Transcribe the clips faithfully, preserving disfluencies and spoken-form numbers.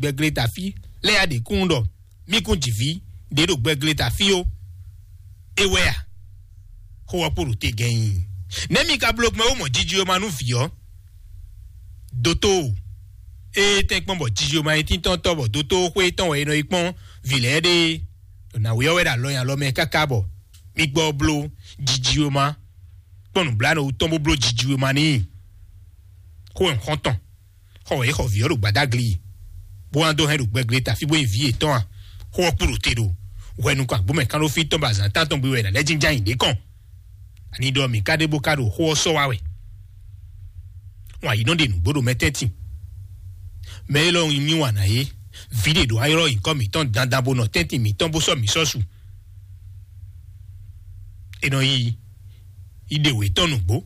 gbɛglé tafí lɛ́ɛ ya ɖě kún ɖɔ mí kún jǐví ɖě ɖo gbɛglé tafí ó. É wɛ a? Xó ɔ́ kpo ɖo te gɛnyi. Nɛ̌ mi ka bló gbɛn ó mɔ jiji e ma nú vǐ ɔ́? Dótó, ée tɛ́nkpɔ́n bɔ jiji e ma nyí tíntɔ́ntɔ́ bɔ dótó xwé tɔn wɛ è nɔ yi kpɔ́n vǐ lɛ́ɛ ɖe, ɖo nǎwe ɔ́ wɛ ɖo alɔ nyi alɔ mɛ káká bɔ mí gbɔ bló jiji e ma kpɔ́n nǔbláwǔ tɔn bó bló jiji e ma n'i. Xó wɛ un xɔ́n tɔn. Xɔ wɛ é xɔ vǐ ɔ́ ɖo gbadagli, bó wá dó hɛn ɖo gbɛglé tafí bó nyi vǐ yětɔn a? Xó ɔ́ kpo ɖo te ɖo hwɛ nukɔn agbǒmɛ kánɖófí tɔn bɔ azǎn tántɔn gbe wɛ è nǎ lɛ́ jínjɔ́n ayǐ ɖě kɔn. Ani ɖɔ mǐ ka ɖe bó ka ɖo xó ɔ́ sɔ́ wá wɛ? Wǎn yi nɔ ɖe nǔgbó ɖo mɛ tɛ́ntin. Mɛ élɔ́ nyi mì wǎn ná é. Vǐ ɖě ɖo ayɔ́ nyǐkɔ mǐtɔn dandan bó nɔ tɛ́ntin mǐtɔn bó sɔ́ mǐ sɔ́ su. È nɔ yi yi ɖe wě tɔn nǔgbó.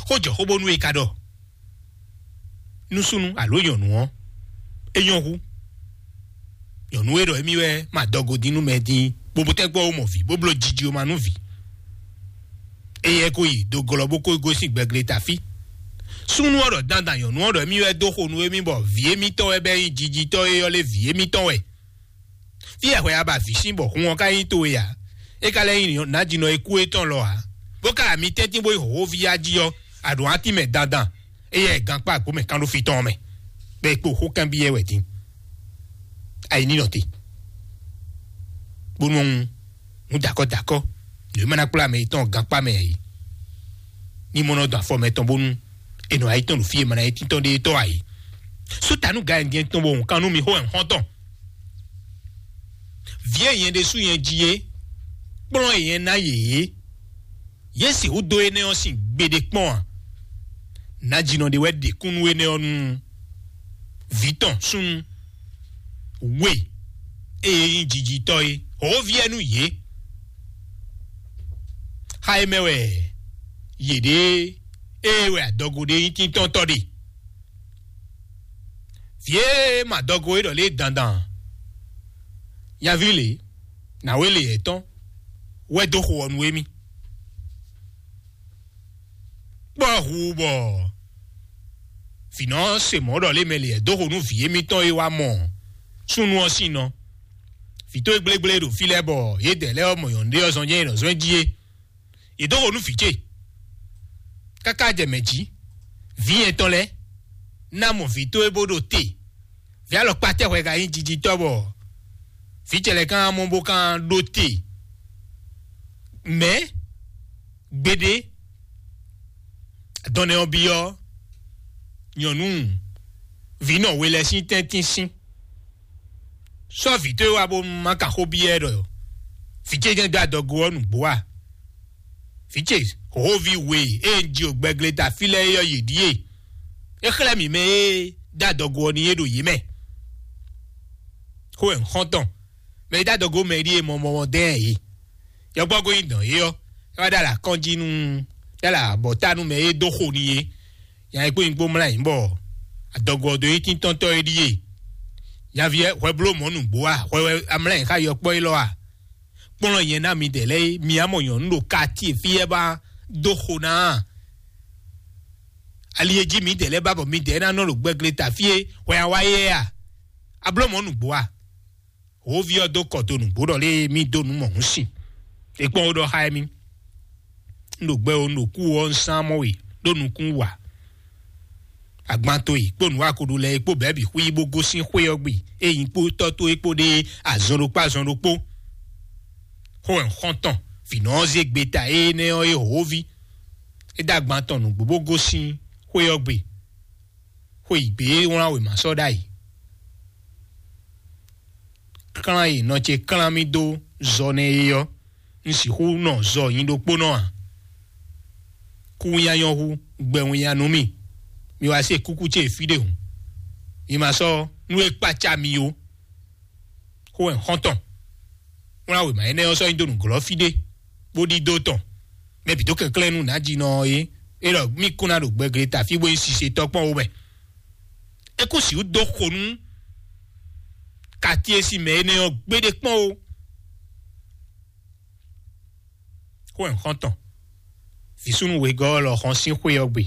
Xó jɔ xó bónú é ka ɖɔ nú súnnu alo nyɔ̌nu ɔ́, é nyɔ́ hú. Nyɔ̌nu e ɖɔ émí wɛ ma dɔgo dín nú mɛ dín, bó bó tɛ́gbɔ ó mɔ vǐ, bó bló jiji ó ma nú vǐ. Éyɛ́ ko yi do glɔ́ bó ko gosín gbɛglé tafí. Súnnu ɔ́ ɖɔ dandan nyɔ̌nu ɔ́ ɖɔ émí wɛ dó xo nú émí bɔ vǐ émítɔn wɛ bɛ́ nyí jijitɔ́ e ɔ́ lé vǐ émítɔn wɛ. Fí e hwɛ a ba vǐ sín bɔ hun ɔ́ ka nyí towe ǎ. É ka lɛ́ nyí nǎjínɔ e kú étɔn lɔ ǎ. Bó ka ami tɛ́ntin bó yi hǒxóví ya jí ɔ́, a ɖǒ átí mɛ dandan. Éyɛ́ gankpá agbǒ mɛ kánɖófí tɔn ɔ́ mɛ, bɔ è kpo xó kanbyɔ́ ɛ wɛ din. Ayi ní nɔ te. Bónú ɔ́, nǔ dakɔ dakɔ, nǔ e ma ná kplá mɛ yětɔn gankpá mɛ ǎ é. Ní mɔ nɔ dɔn afɔ mɛtɔn bónú è nɔ ayi tɔn ɖo fí e ma ná yi tíntɔn ɖe tɔ́ ǎ é. Sú ta nú gǎyɛndyɛn tɔn bɔ hǔn kan nú mi xó wɛ un xɔ́n tɔn. Vǐ e nyɛ ɖésú nyɛ ji é, kplɔ́n e nyɛ ná yě é, yě sixú dó énɛ́ ɔ́ sin gbeɖé kpɔ́n a? Nǎjínɔ ɖé wɛ ɖe kún nú énɛ́ ɔ́ nú vǐ tɔn súnnu we e nyí jijitɔ́ é, hǒví ɛ nú yě. Xá é mɛ wɛ yě ɖe ée wɛ adɔgo ɖé nyí tíntɔ́ntɔ́ ɖe. Vǐ e ma dɔgo é ɖɔ lě dandan, nyaví lě, nǎwe lě yɛ̌tɔn wɛ dó xo ɔ́ nú émí. Kpɔ́ hu bɔ vǐnɔ se mɔ̌ ɖɔ lě mɛ lě dó xo nú vǐ émítɔn e wá mɔ súnnu ɔ́ sín nɔ. Vǐ towe gblégbléé ɖo fí lɛ́ɛ bɔ yědɛɛ lɛ́ɛ ɔ́ mɔ nyɔ̌nu ɖé ɔ́ zɔn jɛ́n è nɔ zɔ́n ɛ jí é. Yě dó xo nú vǐ ce. Káká jɛ mɛ jí, vǐ nyɛtɔn lɛ́ɛ ná mɔ vǐ towe bó ɖo te. Vǐ alɔkpa tɛ́ hwɛ ka nyí jijitɔ́ bɔ vǐ ce lɛ́ɛ kan mɔ bó kan ɖó te. Mɛ̌ gbeɖé dɔn nɛ́ ɔ́ byɔ́ nyɔ̌nu vǐnɔ we lɛ́ɛ sín tɛ́ntin sín. Sɔ́ vǐ towe wá bó má ka xó byɔ́ ɛ ɖɔ vǐ ce jɛ́n dó adɔgo ɔ́ nǔgbó a? Vǐ ce hǒví we e un ji o gbɛgleta fí lɛ́ɛ é ɔ́ yě ɖíe. É xlɛ́ mǐ mɛ e dó adɔgo ɔ́ n'i é ɖo yě mɛ. Xó wɛ un xɔ́n tɔn. Mɛ e dó adɔgo mɛ ɖíe mɔ mɔ dɛ́n ɛ yě. Yɔkpɔ́ ko nyi dɔn yé ɔ́, é wá ɖó alǎ kɔn jí nú ɖó alǎ abɔ̌ta nú mɛ e dó xo n'i é. Nya e kpó nyí kpó mlá nyǐ bɔ adɔgo ɔ́ dó nyí tíntɔ́ntɔ́ e ɖíe. Nyaví ɛ hwɛ bló mɔ̌ nǔgbó a? Hwɛ wɛ amlá nyǐ xá yɔkpɔ́ élɔ́ a? Kplɔ́n nyɛ ná midɛɛ lɛ́ɛ é, mi á mɔ nyɔ̌nu ɖo katíe fí ɛ ba dó xo ná a? Ali e jí midɛɛ lɛ́ɛ ba bɔ midɛɛ ná nɔ ɖo gbɛgleta fí e hwɛ a wá yɛ a? A bló mɔ̌ nǔgbó a? Hǒví ɔ́ dó kɔ dó nǔgbó ɖɔ lé mí dó nǔ mɔ̌hun sin. È kpɔ́n ó ɖɔ xá émí. Un ɖo gbɛ ó, un ɖo kú ó, un sán mɔ we ɖó nukún wǎ. Agbanto e kpó nǔwakoɖo lɛ́ɛ e kpó bɛ̌ bǐ xwí bó gosín xwé ɔ́ gbe, é nyí kpó tɔ́ towe kpó ɖe azɔn ɖokpó azɔn ɖokpó. Xó wɛ un xɔ́n tɔn, vǐnɔ ɔ́ zé gbeta énɛ́ ɔ́ é hǒví. É dó agban tɔn nǔgbó bó gosín xwé ɔ́ gbe. Xwe yi gbě e wlán wěma sɔ́ ɖ'ayǐ. Klán e nɔ ce klán mì dó zɔ nɛ́ é ɔ́, un sixú nɔ zɔ nyi ɖokpónɔ ǎ. Kú winnyá nyɔ́ hú, gbɛ winnyá nú mì. Mi wá se kúkú ce fí ɖé hǔn. Mi ma sɔ́ nú e kpácá mi ó. Xó wɛ xɔ́ntɔn. Wlán wěma énɛ́ ɔ́ sɔ́ nyi dó nǔglɔ́ fí ɖé, bó ɖidó tɔn. Mɛ bǐ dó kɛnklɛ́n nú nǎjínɔ ɔ́ é. É ɖɔ mì kún ná ɖo gbɛgleta fí bó nyí sisetɔ́ kpɔ́n ó mɛ. É kún sixú dó xo nú kati e sin mɛ énɛ́ ɔ́ gbéɖé kpɔ́n ó. Xó wɛ xɔ́ntɔn. Vǐsúnnu wegɔ́ ɔ́ lɔ xɔn sín xwé ɔ́ gbe.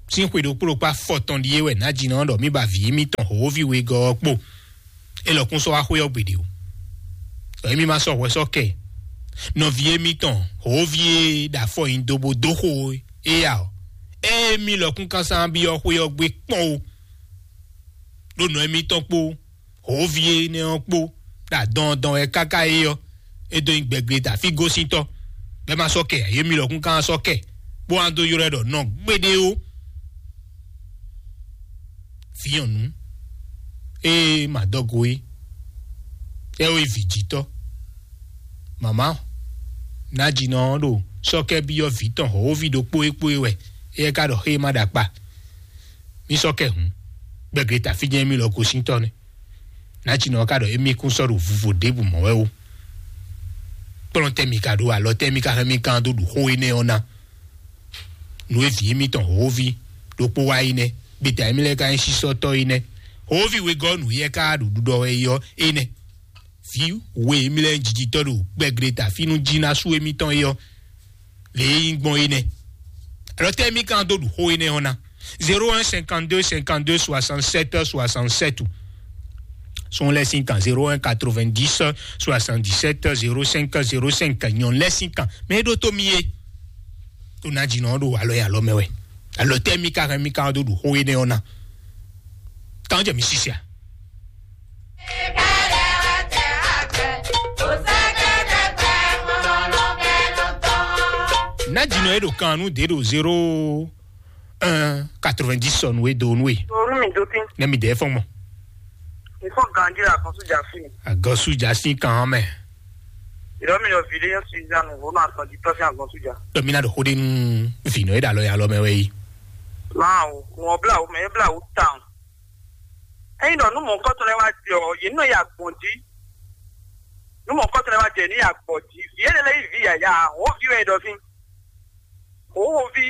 Sín xwe ɖokpó ɖokpó afɔtɔn ɖíe wɛ nǎjínɔ ɖɔ mí ba vǐ émítɔn hǒví wegɔ́ ɔ́ kpó. É lɔkún sɔ́ wá xwé ɔ́ gbeɖé o. Ɖɔ émí ma sɔ́ hwɛ sɔ́ kɛ. Nɔví émítɔn hǒví e ɖo afɔ nyi dó bó dó xo é ǎ ɔ́, émí lɔkún kásá byɔ́ xwé ɔ́ gbé kpɔ́n o. Ɖó nɔ émítɔn kpó hǒví énɛ́ ɔ́ kpó ɖo adɔndɔn wɛ káká é ɔ́, é dó nyí gbɛgbléta fí gosíntɔ́, bɔ é ma sɔ́ kɛ ǎ, yě mì lɔkún ka sɔ́ kɛ, bó wá dó ylɔ́ ɛ ɖɔ nɔ gbéɖé ó. Vǐ nyɔ̌nu e ma dɔgo é, é wɛ vǐ jítɔ́. Mama Najinɔ ɔ́ ɖo sɔ́kɛ́ byɔ́ vǐ tɔn hɔ̌wóví ɖokpó é kpó é wɛ, éyɛ́ ka ɖɔ xé e ma ɖo akpa. Mì sɔ́ kɛ hǔn, gbɛgbléta fí jɛ́n mì lɔ gosíntɔ́ nɛ́. Najinɔ ɔ́ ka ɖɔ émí kún sɔ́ ɖo vuvo ɖěbǔ mɔ̌ wɛ ó. Kplɔ́n tɛ́ mi ka ɖó alɔ tɛ́ mi ka hɛn mì kán dó ɖu xó énɛ́ ɔ́ ná? Nǔ e vǐ émítɔn hǒví ɖokpó wá yi nɛ́, gbeta émí lɛ́ɛ ka nyí sísɔ́tɔ́ yi nɛ́. Hǒví wegɔ́ nǔ yɛ ka ɖo ɖuɖɔ wɛ yi ɔ́ é nɛ́. Vǐ we émí lɛ́ɛ nyí jijitɔ́ ɖo gbɛgleta fí nú jí ná sú émítɔn é ɔ́, lě e nyí gbɔn é nɛ́. Alɔ tɛ́ émí ka dó ɖu xó énɛ́ ɔ́ ná? Zéro un cinquante-deux cinquante-deux soixante-sept soixante-sept ou sɔn lɛ sín kan zéro un quatre-vingt-dix soixante-dix-sept zéro cinq zéro cinq nyɔn lɛ sín kan mɛ é ɖó tó mi é. Tó ná jínɔ ɖo alɔ e alɔ mɛ wɛ. Alɔ tɛ́ mi ka hɛn mi ka dó ɖu xó énɛ́ ɔ́ ná? Kan jɛ mi sisia. Ná jínɔ é ɖo kan nú dé ɖo zéro un quatre-vingt-dix sɔnu e do nú e. Orú mi dó tí. Ne mi dɛ fɔn mɔ. Mi fɔ ganji la kan sójà fi. Agɔsu ja sí kan mɛ. Ìrọ́ mi yɔ vǐ ɖé yẹn Suzanne wò náà sàn jí tọ́sí àgbọn sójà. Dɔ mi na ɖo xó ɖe nú vǐnɔ e ɖo alɔ ya lɔ mɛ wɛ yi. Máa o, wọ́n bla o, mɛ e bla o tán. Ẹyin dɔ nú mɔ̌kɔtɔ lɛ wá jẹ ɔ, yě nɔ ya gbɔn jí. Nú mɔ̌kɔtɔ lɛ wá jẹ ní ya gbɔn jí. Vǐ énɛ́ lɛ yí vǐ yǎyá, wǒ vǐ wɛ ɖɔ fín. Wǒ wǒ ví.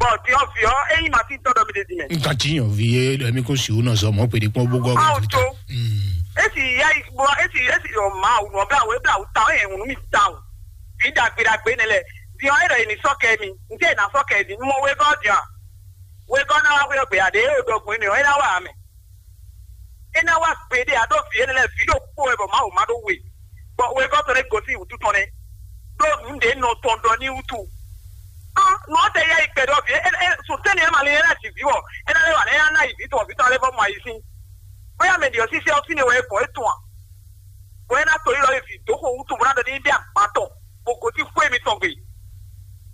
Bɔ din ɔ vǐ ɔ, é nyí ma sín tɔ́ ɖɔ mi ɖe din mɛ. Nka tí yàn vi yé ɖɔ mi kó si wò nɔ zɔ mɔ pé ɖi kpɔn bó gɔ. Awo tó. Esi ya yi bɔ esi esi yɔ ma awu nɔ bla wo ebla wo ta o yɛ ŋunu mi ta o. Fi dagbe dagbe ne lɛ. Din ɔ e ɖɔ yi ni sɔ kɛ mi. N tɛ na sɔ kɛ di. Mɔ wegɔ dia. Wegɔ na wa hwe gbe ade e o dɔgbɔn ne o e na wa amɛ. E na wa gbe de a ɖo vi ene lɛ vi ɖo kpo wɛ bɔ ma o ma ɖo we. Bɔ wegɔ tɔn ne gosi wutu tɔn ne. Ɖo nu ɖe nɔ tɔn ɖɔ ni wutu. Ɔn, nɔ tɛ ya yi kpɛ ɖɔ vi e e sotɛni e ma le yɛ na ji vi wɔ. E na le wa ne ya na yi vi tɔn vi tɔn le bɔ ma yi sin. Bóyá mɛ ɖi ɔ sisi ɔ fine wɛ e gbɔn e tɔn a. Bɔ e na to yi lɔ yi vi dó xo wutu bó na ɖɔ ni ɖe agban tɔn. Bó gosí xwé mitɔn gbe.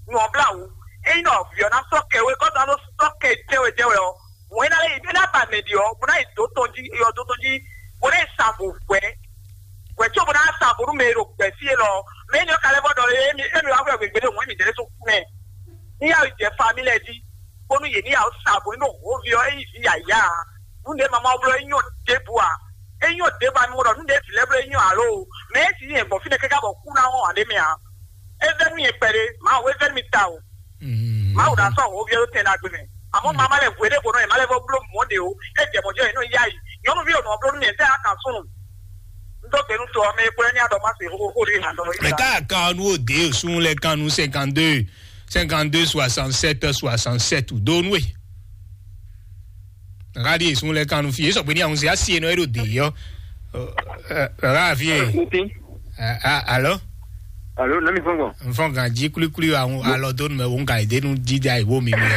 Nɔ bla wú. Eyi nɔ viɔ na sɔ kɛ we kɔta nɔ sɔ kɛ jɛwɛ jɛwɛ ɔ. Mɔ e na lɛ yi e na ba mɛ ɖi ɔ, bó na yi dó tɔn jí, yɔ dó tɔn jí, bó na yi sa vo hwɛ. Hwɛ tso bó na sa vo nú mɛ e ɖo gbɛ fí e lɔ. Mɛ e nyɔ kalɛ bɔ ɖɔ e mi e mi wa hwɛ gbegbe ɖe mɔ e mi jɛ ɖe so kú mɛ. Ní yà jẹ famí lɛ jí. Bónú yě ní yà sa vo nínú hǒvi ɔ, e nyí vǐ yǎyá. Nú ɖě mama blɔ e nyɔ ɖěbǔ a. E nyɔ ɖěbǔ a mi mɔ ɖɔ nú ɖě vǐ lɛ́ɛ blɔ e nyɔ alo. Mɛ e si nyɛ gbɔn fínɛ́ káká bɔ kú ná wɔn ǎ ɖé mɛ a. É vɛ́ nú nyɛ kpɛɖé, Mawu é vɛ́ nú mi ta o. Mawu ɖo asɔ hǒviɛ ɖó tɛn ɖagbe mɛ. Àmọ́ màmá lɛ hwe ɖé ko nɔ yě má lɛ vɔ bló mɔ̌ ɖe o. É jɛ mɔ̌ jɔ yě nɔ yá yìí. Nyɔ̌nuví ò nɔ bló nú mì, é tɛ á kan súnnu. Un dó gbe nú to ɔ́, mɛ e kplɔ́ ní adɔ má se xóxó ɖé nǎ dɔ. Mɛ ká kan nú òde òsún lɛ kan nú cinquante-deux, cinquante-deux soixante-sept soixante-sept dó nú è. Ká ɖi èsún lɛ kan nú fi. É sɔgbe ní àwọn se asi enɔ é ɖo dè yɔ. Rárá fi é. Alo? Alo, nɔ mi fɔn gbɔn. N fɔn gan jí kulikuli àwọn alɔ dó numɛ wo n ka ìdénú dídá ìwó mi mi.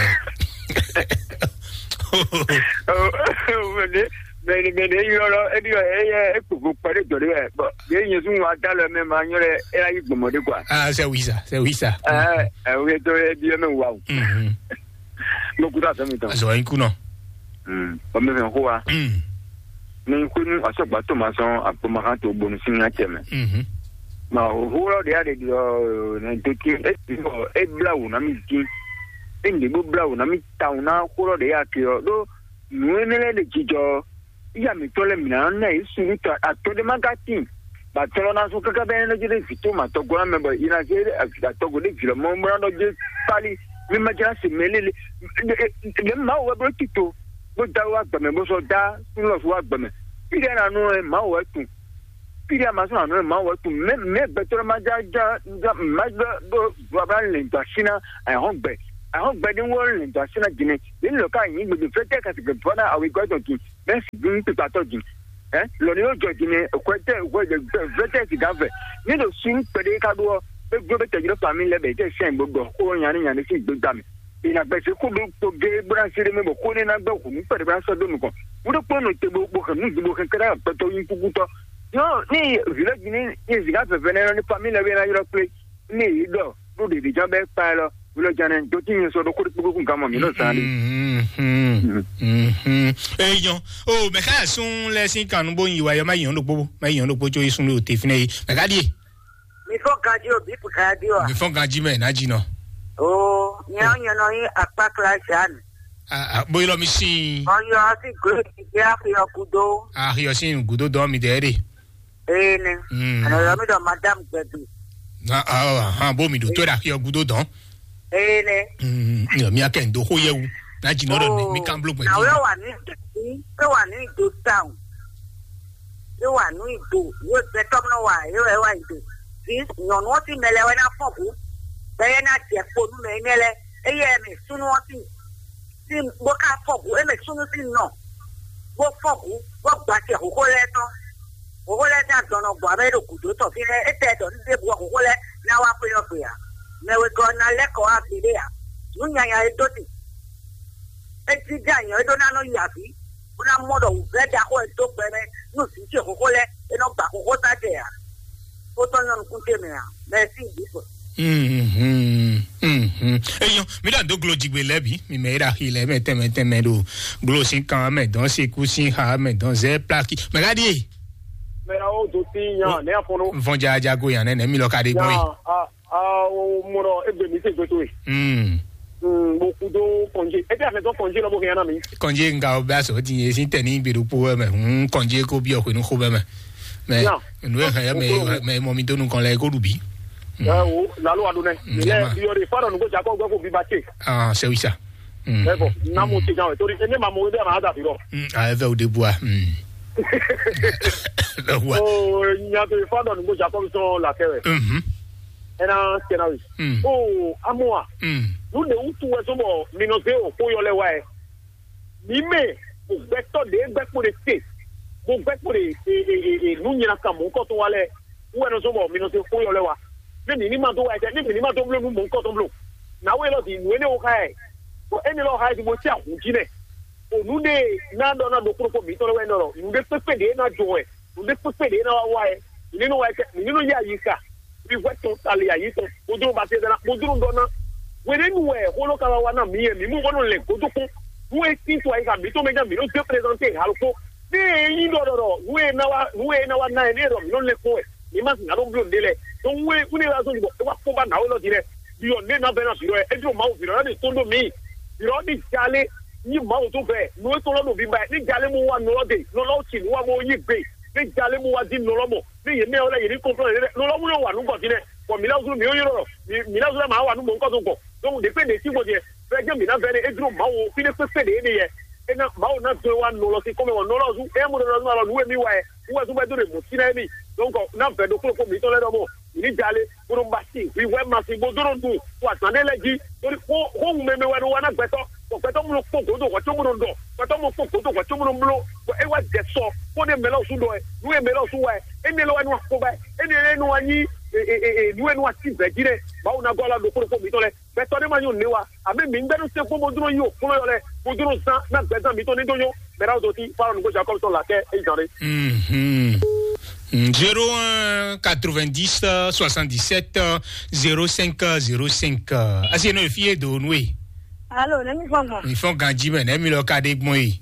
Mɛni mɛni eyɔ lɔ ebi yɔ eyɛ ekpogbo kpɛɖe dɔ de wɛ bɔn ye nyɛ sun wa da lɔ mɛ ma nyɔ lɛ ela yi gbɔmɔ de kwa. Ah, c'est oui ça, c'est oui ça. Ɛɛ ɛwɛ tɔ ebi yɛ mɛ wa o. Mhm. Mo kuta fɛn mi tɔn. Azɔ in kunɔ. Ɔmɛ fɛn ko wa. Mm. Ni xwe nu asɔgba to ma sɔn akpɔmakan to bonu sin nya cɛ mɛ. Mhm. Ma o hurɔ de ya de di ɔ ne to ti e ti ɔ e bla wo na mi ti. E ne bo bla wo na mi ta wo na hurɔ de ya ke ɔ do nu ene lɛ de jijɔ. Iya mi tɔ lɛ mi na na yi sulu ta atɔ de ma ka ti. Ba tɔ lɔ na so kaka bɛ ne de vi to ma tɔ gɔna mɛ bɔ ina se atɔ go de vi lɔ mɔ mɔ na dɔ je pali mi ma jara se mɛ lele. Le ma wo wɛ blo ti to. Bó dá wá gbɛmɛ bó sɔ dá súnlọ́sù wá gbɛmɛ. Pílíà nà nú ẹ má wɔ ẹ tún. Pílíà má sún àná ẹ má wɔ ẹ tún. Mɛ mɛ gbɛtɔ́ má já já já má gbɛ bó bó abá lè gbà sí ná àìhɔn gbɛ. Ahɔn gbɛdín wɔ lɛ dɔ asi na dine. Ni lɔ ka yin gbede fɛtɛ ka se gbede fɔ na awi gɔ dɔn dun. Mɛ si dun kpikpa tɔ dun. Ɛ lɔ ni yɔ jɔ dine kwɛtɛ kwɛtɛ fɛtɛ si gan fɛ. Ni do sun kpɛdé ka do ɔ. E gbɔ bɛ tɛjɔ fami lɛ bɛ tɛ sɛn gbogbo ko yanni yanni si gbegba mi. Ina gbɛsɛ ko do ko ge bra se de mɛ bɔ ko ne na gbɛ ko nu kpɛdé bra sɔ do nukɔn. Wo do kpɔn no te bo bo hɛn nu bo hɛn kɛdɛ gbɛtɔ yin kukutɔ. Yɔ ni village ni ni zika fɛfɛ ne ni fami lɛ bɛ na yɔrɔ kple. Ní èyí ɖɔ ɖó ɖèɖè ján bɛ́ kpa ɛ lɔ wulɔjánɛ dó tí nyɛ sɔ ɖó kóɖó kpókpó kún gamɔ mǐ nɔ zán ɖé. Eyɔn o mɛ ká sún lɛ sín kan nú bó yin wa yɔ má yàn ɖokpó má yàn ɖokpó tso yé sún lé o te fínɛ yé mɛ ká ɖíe. Mi fɔ ganji o, bi pu ganji o. Mi fɔ ganji mɛ ná jí nɔ. O nyɛ nyɛ nɔ yí akpa kla Jeanne. Bóyá lɔ mi sin. Ɔyɔ asi glo ti di axi ɔkudo. Axi ɔsin gudo dɔn mi dɛ ɖe. Ene. Mm. Ana yɔ mi dɔ madame gbɛdu. Na ah ah bo mi do to da ki ogudo dɔn. Ene. Mm, mi akɛ ndo ho yewu. Na ji no do mi kan blo gbɛdu. Na we wa ni do si, we wa ni do town. We wa ni do, we be tom no wa, we wa do. This no no ti mele we na fogu. Be na je ko nu me mele. Eye mi sunu ti. Sín bó ká fɔ gǔ, é mɛ súnnu sín nɔ, bó fɔ gǔ, bó gba acɛ hǒxo lɛ́ɛ tɔn. Hǒxo lɛ́ɛ tɔn adɔn nɔ gbɔ amɛ ɖo gǔdo tɔn fínɛ́, é tɛ ɖɔ ní ɖěbǔ ɔ́ hǒxo lɛ́ɛ ná wá xwé ɔ́ gbe ǎ. Mɛ wegɔ́ ɔ́ ná lɛ́ kɔ wá gbeɖé ǎ. Nǔ nyanya e dó ti, é jínjɔ́n anyɔ é ɖó ná nɔ yi avǐ, bó ná mɔ ɖɔ wǔvɛ́ ɖaxó e dó gbɛ mɛ nú vǐ ce hǒxo lɛ́ɛ, é nɔ gba hǒxo sá jɛ ǎ. Kó tɔ́ nyɔ́ nukún ce mɛ ǎ. Mɛsí Jizɔs. Mhm, mhm. Eyɔn, mi ɖo ado glo jigbe lɛ bi, mi mɛ yi ɖo axi lɛ mɛ tɛmɛ tɛmɛ ɖo glo sin kan mɛ dɔn seku sin xa mɛ dɔn zɛ plaki mɛ ka ɖie. Mɛ awo do ti yan ne afɔnɔ. Nfɔn jaja go yan nɛ nɛ mi lɔ ka ɖe gbɔn yi. Yan a a o mɔrɔ egbe mi se gbeto yi. Mm. Mm, bo kudo kɔnje. Ebi afɛ tɔ kɔnje lɔ bo hɛn na mi. Kɔnje nga o bɛ asɔ ti ye sin tɛ ni gbe ɖokpo wɛ mɛ. Mm, kɔnje ko bi ɔkwe nu xo bɛ mɛ. Mɛ nu e hɛn mɛ mɛ mɔ mi donu kɔn lɛ ko ɖu bi. Ɛ wo lalo wa do nɛ. Lɛ yɔ de fa dɔ nugo jakɔ gbɛ ko bi ba ce. Ah, c'est oui ça. Ɛ bɔ na mo ti jan wɛ tori ene ma mo de ma da bi rɔ. Ah, eve o de bois. Ɛ wa. O nya to fa dɔ nugo jakɔ sɔn la kɛ wɛ. Mhm. Ena kɛna wi. Mm. O amoa. Mm. Nu de wutu wɛ sɔn bɔ mi nɔ se o ko yɔ lɛ wa yɛ. Mi mɛ, mo gbɛtɔ ɖe gbɛkpo ɖe te, mo gbɛkpo ɖe e e e e nu nyina kan mɔ nkɔ to wa lɛ. Wɛ nɔ sɔn bɔ mi nɔ se ko yɔ lɛ wa. Ne mi ni ma do wa yɛ, ne mi ni ma do blo nu mɔ nkɔ tɔn blo. Na wo elɔ di nu ene wo xa yɛ. Ko ene lɔ xa yɛ di mo ti ahun ji nɛ. O nu de na dɔ na do kuro ko mi tɔ lɛ wɛ nɔ lɔ. Nu de kpekpe de na jɔ wɛ. Nu de kpekpe de na wa wa yɛ. Mi ni nɔ wa yɛ, mi ni nɔ ya yi ka. Mi hwɛ tɔn ta le ayi tɔn. Bodro ba se dana, bodro dɔ na. Wene nu wɛ holo ka wa na mi yɛ mi mu bɔnu le godo ko. Nu e tin to ayi ka mi to me ja mi no de présenter halo ko. Ne e yin dɔ dɔ dɔ, nu e na wa, nu e na wa na e ne dɔ mi no le ko e. Mi ma na do blo de le. Donc we une raison du bon, e wa ko ba na o lo dire. Bi o ne na be na bi o e dro ma o bi o na de tondo mi. Bi o ni jale ni ma o to be. Nu e to lo do bi ba. Ni jale mo wa no lo de. No lo ti no wa mo yi be. Ni jale mo wa di no lo mo. Ne yě mɛ ɔ́ lɛ́ɛ yě ní kɔnplɔ́n yě lɛ́ɛ lɔlɔ́ wúlò wà nú gbɔn fínɛ́, bɔ mǐ lɛ́ zú mǐ ó ylɔ́ ɖɔ mǐ lɛ́ zú lɛ́ɛ mǎ wà nú mɔ̌hunkɔtɔn gbɔn. Donc ɖě kpé ɖě sín gbɔn din, fɛ́ jɛ́n mǐ ná vɛ́ nɛ́ é jló Mawu fínɛ́ kpékpé ɖě é ɖe yɛ. É ná Mawu ná dó wá nɔ lɔ sín kɔ́mɛ wɔ nɔ lɔ zú é mɔ nɔ lɔ zú alɔ nǔ e mì wa ɛ wú wɛ zú bɛ dó ɖe mɔ̌ sín ná émí. Donc ná vɛ̌ ɖokpó ɖokpó mǐtɔn lɛ́ɛ ɖɔ mɔ mǐ ní jalé bó nɔ ba sin hwihwɛ ma sin bó dó nɔ nu to azǎn ɖé lɛ́ɛ jí. Torí xó xó ŋu mɛmɛ wɛ nɔ wa ná gbɛtɔ́, bɔ gbɛtɔ́ mɔ kpɔ́n gǒdo hɔ̌ có mɔ nɔ ɖɔ, gbɛtɔ́ mɔ kpɔ́n gǒdo hɔ̌ có mɔ nɔ bló, bɔ é wá jɛ sɔ kpɔ́n ɖé mɛ lɔ sú ɖɔ ɛ nú e mɛ lɔ sú wa ɛ. Énɛ́ lɔ wɛ nú akpó ba ɛ. Énɛ́ lɛ nú wa nyí nú e nú wa sí vɛ̌ jí nɛ. Mawu ná gɔ́ alɔ ɖokpó ɖokpó mǐtɔn lɛ́ɛ. Gbɛtɔ́ ɖé ma nyɔ nǔ wa. Àmì mǐ gbɛ́ nú sɛ́nkpɔ́n bó dúró yí òkúló yɔ lɛ bó dúró zán ná gbɛzán mǐtɔn ní dó nyɔ́. Mɛ ná dó tí fáwọn nǔgbó Jacob tɔn là kẹ́ é zán ɖé. Mhm. Zéro un quatre-vingt-dix soixante-dix-sept zéro cinq zéro cinq. Asi eno efi e do nu e. Alo, ne mi fɔ gbɔn. Mi fɔ ganji mɛ ne mi lɔ ka ɖe gbɔn e.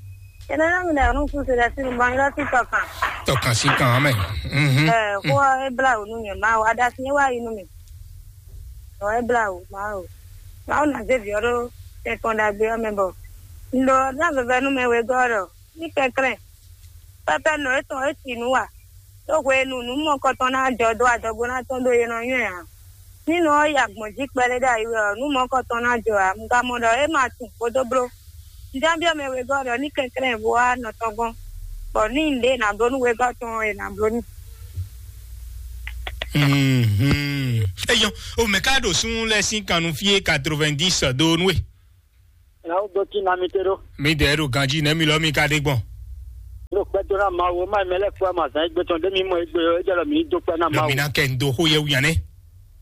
Ene na mi da nu su se da sinu ban yɔrɔ ti tɔ kan. Tɔ kan si kan mɛ. Mhm. Ɛ ko e bla o nu mi ma o adasi ye wa yi nu mi. Ɔ e bla o ma o. Ma o na ze vi ɔɖo tɛ kɔn ɖagbe ɔ mɛ bɔ. Ndo na veve nu mɛ we gɔ ɖɔ. Ní kɛnklɛ́n. Pɛpɛ nɔ etɔn e si nǔ wa. Ɖó hwenu nǔ mɔkɔtɔn ná jɔ dó adɔgo ná tɔn ɖó e nɔ nywɛ́ ǎ. Ní nɔ ɔ́ yi agbɔ̌n jí kpɛɖé ɖo ayi wɛ ɔ́, nǔ mɔkɔtɔn ná jɔ ǎ. Un ka mɔ ɖɔ é ma tunwun kpódó bló. Un ján byɔ́ mɛ wegɔ́ ɖɔ ní kɛnklɛ́n bó wá nɔ tɔn gɔ́n, bɔ ní un ɖě nǎ bló nú wegɔ́ tɔn ɔ́, è nǎ bló n'i. Mhm. Eyɔn, o mɛ ka ɖo sun lɛ sín kannú fí é quatre-vingt-dix do nú e. Lawo dó tí na mi te ɖó. Mi dɛ ɖo ganjí nɛ mi lɔ mi ka ɖe gbɔn. Ɖo kpɛdó ná Mawu, ma mɛ lɛ kpó ma zan égbé tɔn ɖé mi mɔ égbé ɔ́, é jɛ lɔ mi dó kpɛ ná Lɔ Mawu. Mi ná kɛ ndo xó yɛ wíyan nɛ.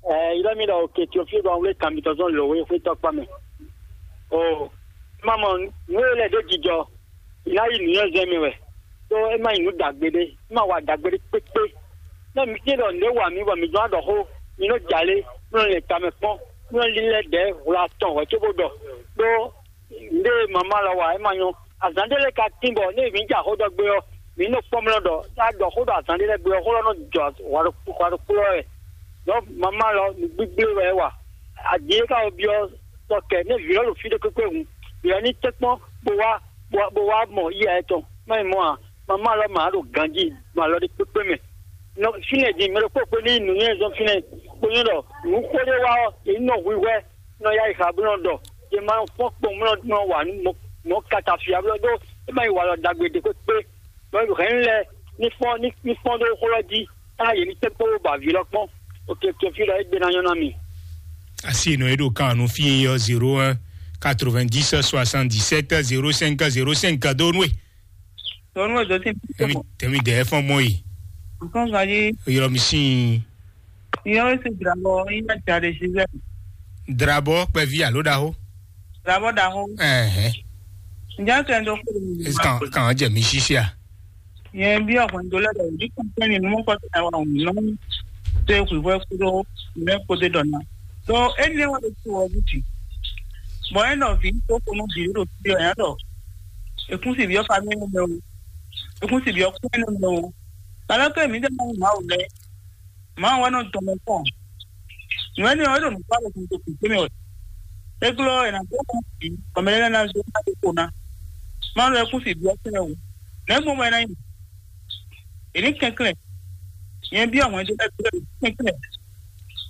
Ɛ, ilé mi ɖɔ òkè tí o fí ɖɔ wlé kan mi tɔn zɔn lò wé xwé tɔkpa mɛ. O, ma mɔ nú e lɛ ɖó jijɔ, ná yi nǔnywɛ́zɛn mɛ wɛ. Tó é má nyí nǔ dǎgbé ɖé, é má wa dǎgbé ɖé kpékpé. Nú mi tín ɖɔ nǔ e wa mi bɔ mi zɔn ɖɔ xó, mi nɔ jalé, mi nɔ lɛn tamɛ kpɔ́n, mi nɔ lílɛ́ dɛ̌ hwla tɔn hwɛ̌ cóbó ɖɔ. Ɖó nǔɖé e mamá lɔ wa é ma nyɔ́. Azǎn ɖé lɛ́ɛ ka tín bɔ ní mǐ ja xó ɖɔ gbé ɔ́, mǐ nɔ kpɔ́n mlɔ́ ɖɔ tá a ɖɔ xó ɖɔ azǎn ɖé lɛ́ɛ gbé ɔ́, xó lɔ nɔ jɔ hwa ɖokpó hwa ɖokpó lɔ wɛ. Ɖɔ̌ mamá lɔ nǔgbígbé wɛ é wa. Adi e ka wɔ byɔ́ sɔ kɛ nú vǐ lɔ ɖo fí ɖé kpékpé hǔn, vǐ lɔ ní tɛ́nkpɔ́n bó wá bó wá bó wá mɔ yíyá yɛtɔn. Má nyí mɔ̌ ǎ, mamá lɔ mǎ ɖo ganjí mɔ alɔ ɖé kpékpé mɛ. Nɔ fínɛ́ din mɛ ɖokpó kpé ní nǔnywɛ́ zɔn fínɛ́ kpó nyɔ́ ɖɔ nǔ xó ɖé wá ɔ́, yě ní nɔ hwihwɛ́ nɔ yá yi xa bó nɔ ɖɔ yě ma nɔ fɔ́n kpɔn bó nɔ wǎ nú mɔ̌ kata fia blɔ́ ɖó é ma yi walɔ ɖagbe ɖě kpékpé. Bɔ hɛ̌nnu lɛ́ɛ ní fɔ́n ní ní fɔ́n ɖó xó lɔ jí, tá yě ní tɛ́nkpɔ́n bó ba vǐ lɔ kpɔ́n. Oke, to fí lɔ é gbe ná nyɔ́ ná mi. Asi nɔ e ɖo kan nú fí e yɔ zéro un quatre-vingt-dix soixante-dix-sept zéro cinq zéro cinq do nú e. Tɔnu e dɔtí. Tɛmi tɛmi dɛ fɔn mɔ yi. Nǹkan kan yé. Yɔrɔ mi sin. Ìyẹn ó sì dra bɔ yín náà jáde sí bẹ́ẹ̀. Drabɔ kpɛvi alo ɖaxó. Dra bɔ ɖaxó. Ɛhɛn. Ǹjẹ́ kẹ́ ń dɔ kúrò nínú? Kàn kàn jẹ mi ṣiṣẹ́ à. Yẹn bí ọkùnrin tó lẹ́dọ̀ ní kọ́ńtẹ́nì ní mọ́kọ́ tẹ̀ wá òun náà. Tó e kùn ìfọ́ kúrò ní kó dé dọ̀nà. Tó e ní wọ́n ti wọ́ bùtì. Bọ̀ ẹ nọ vǐ tó kó nú vǐ ɖo fí ɔ́ yɛn ɖɔ. Èkún sì bí ọ́ fa mí nú mɛ o. Èkún sì bí ọ́ kún nú mɛ o. Kàlá kẹ́ mi dẹ́ mọ́ màá wò lɛ. Màá wá nɔ tɔmɔ kpɔn. Nǔ ɛnɛ ɔ́, é ɖo nǔkpá ɖo kúkú kúkú mɛ wɛ. É glɔ́ è nǎ dó kú bǐ, bɔ mɛ lɛ́ɛ ná zé ná dó kpo ná. Má lɔ ɛ kú sì byɔ́ sɛ́ o. Nɛ̌ gbɔn bɔ é ná nyí? È ní kɛnklɛ́n. Nyɛ byɔ́ hwɛndo lɛ́ɛ glɔ́ è ní kɛnklɛ́n.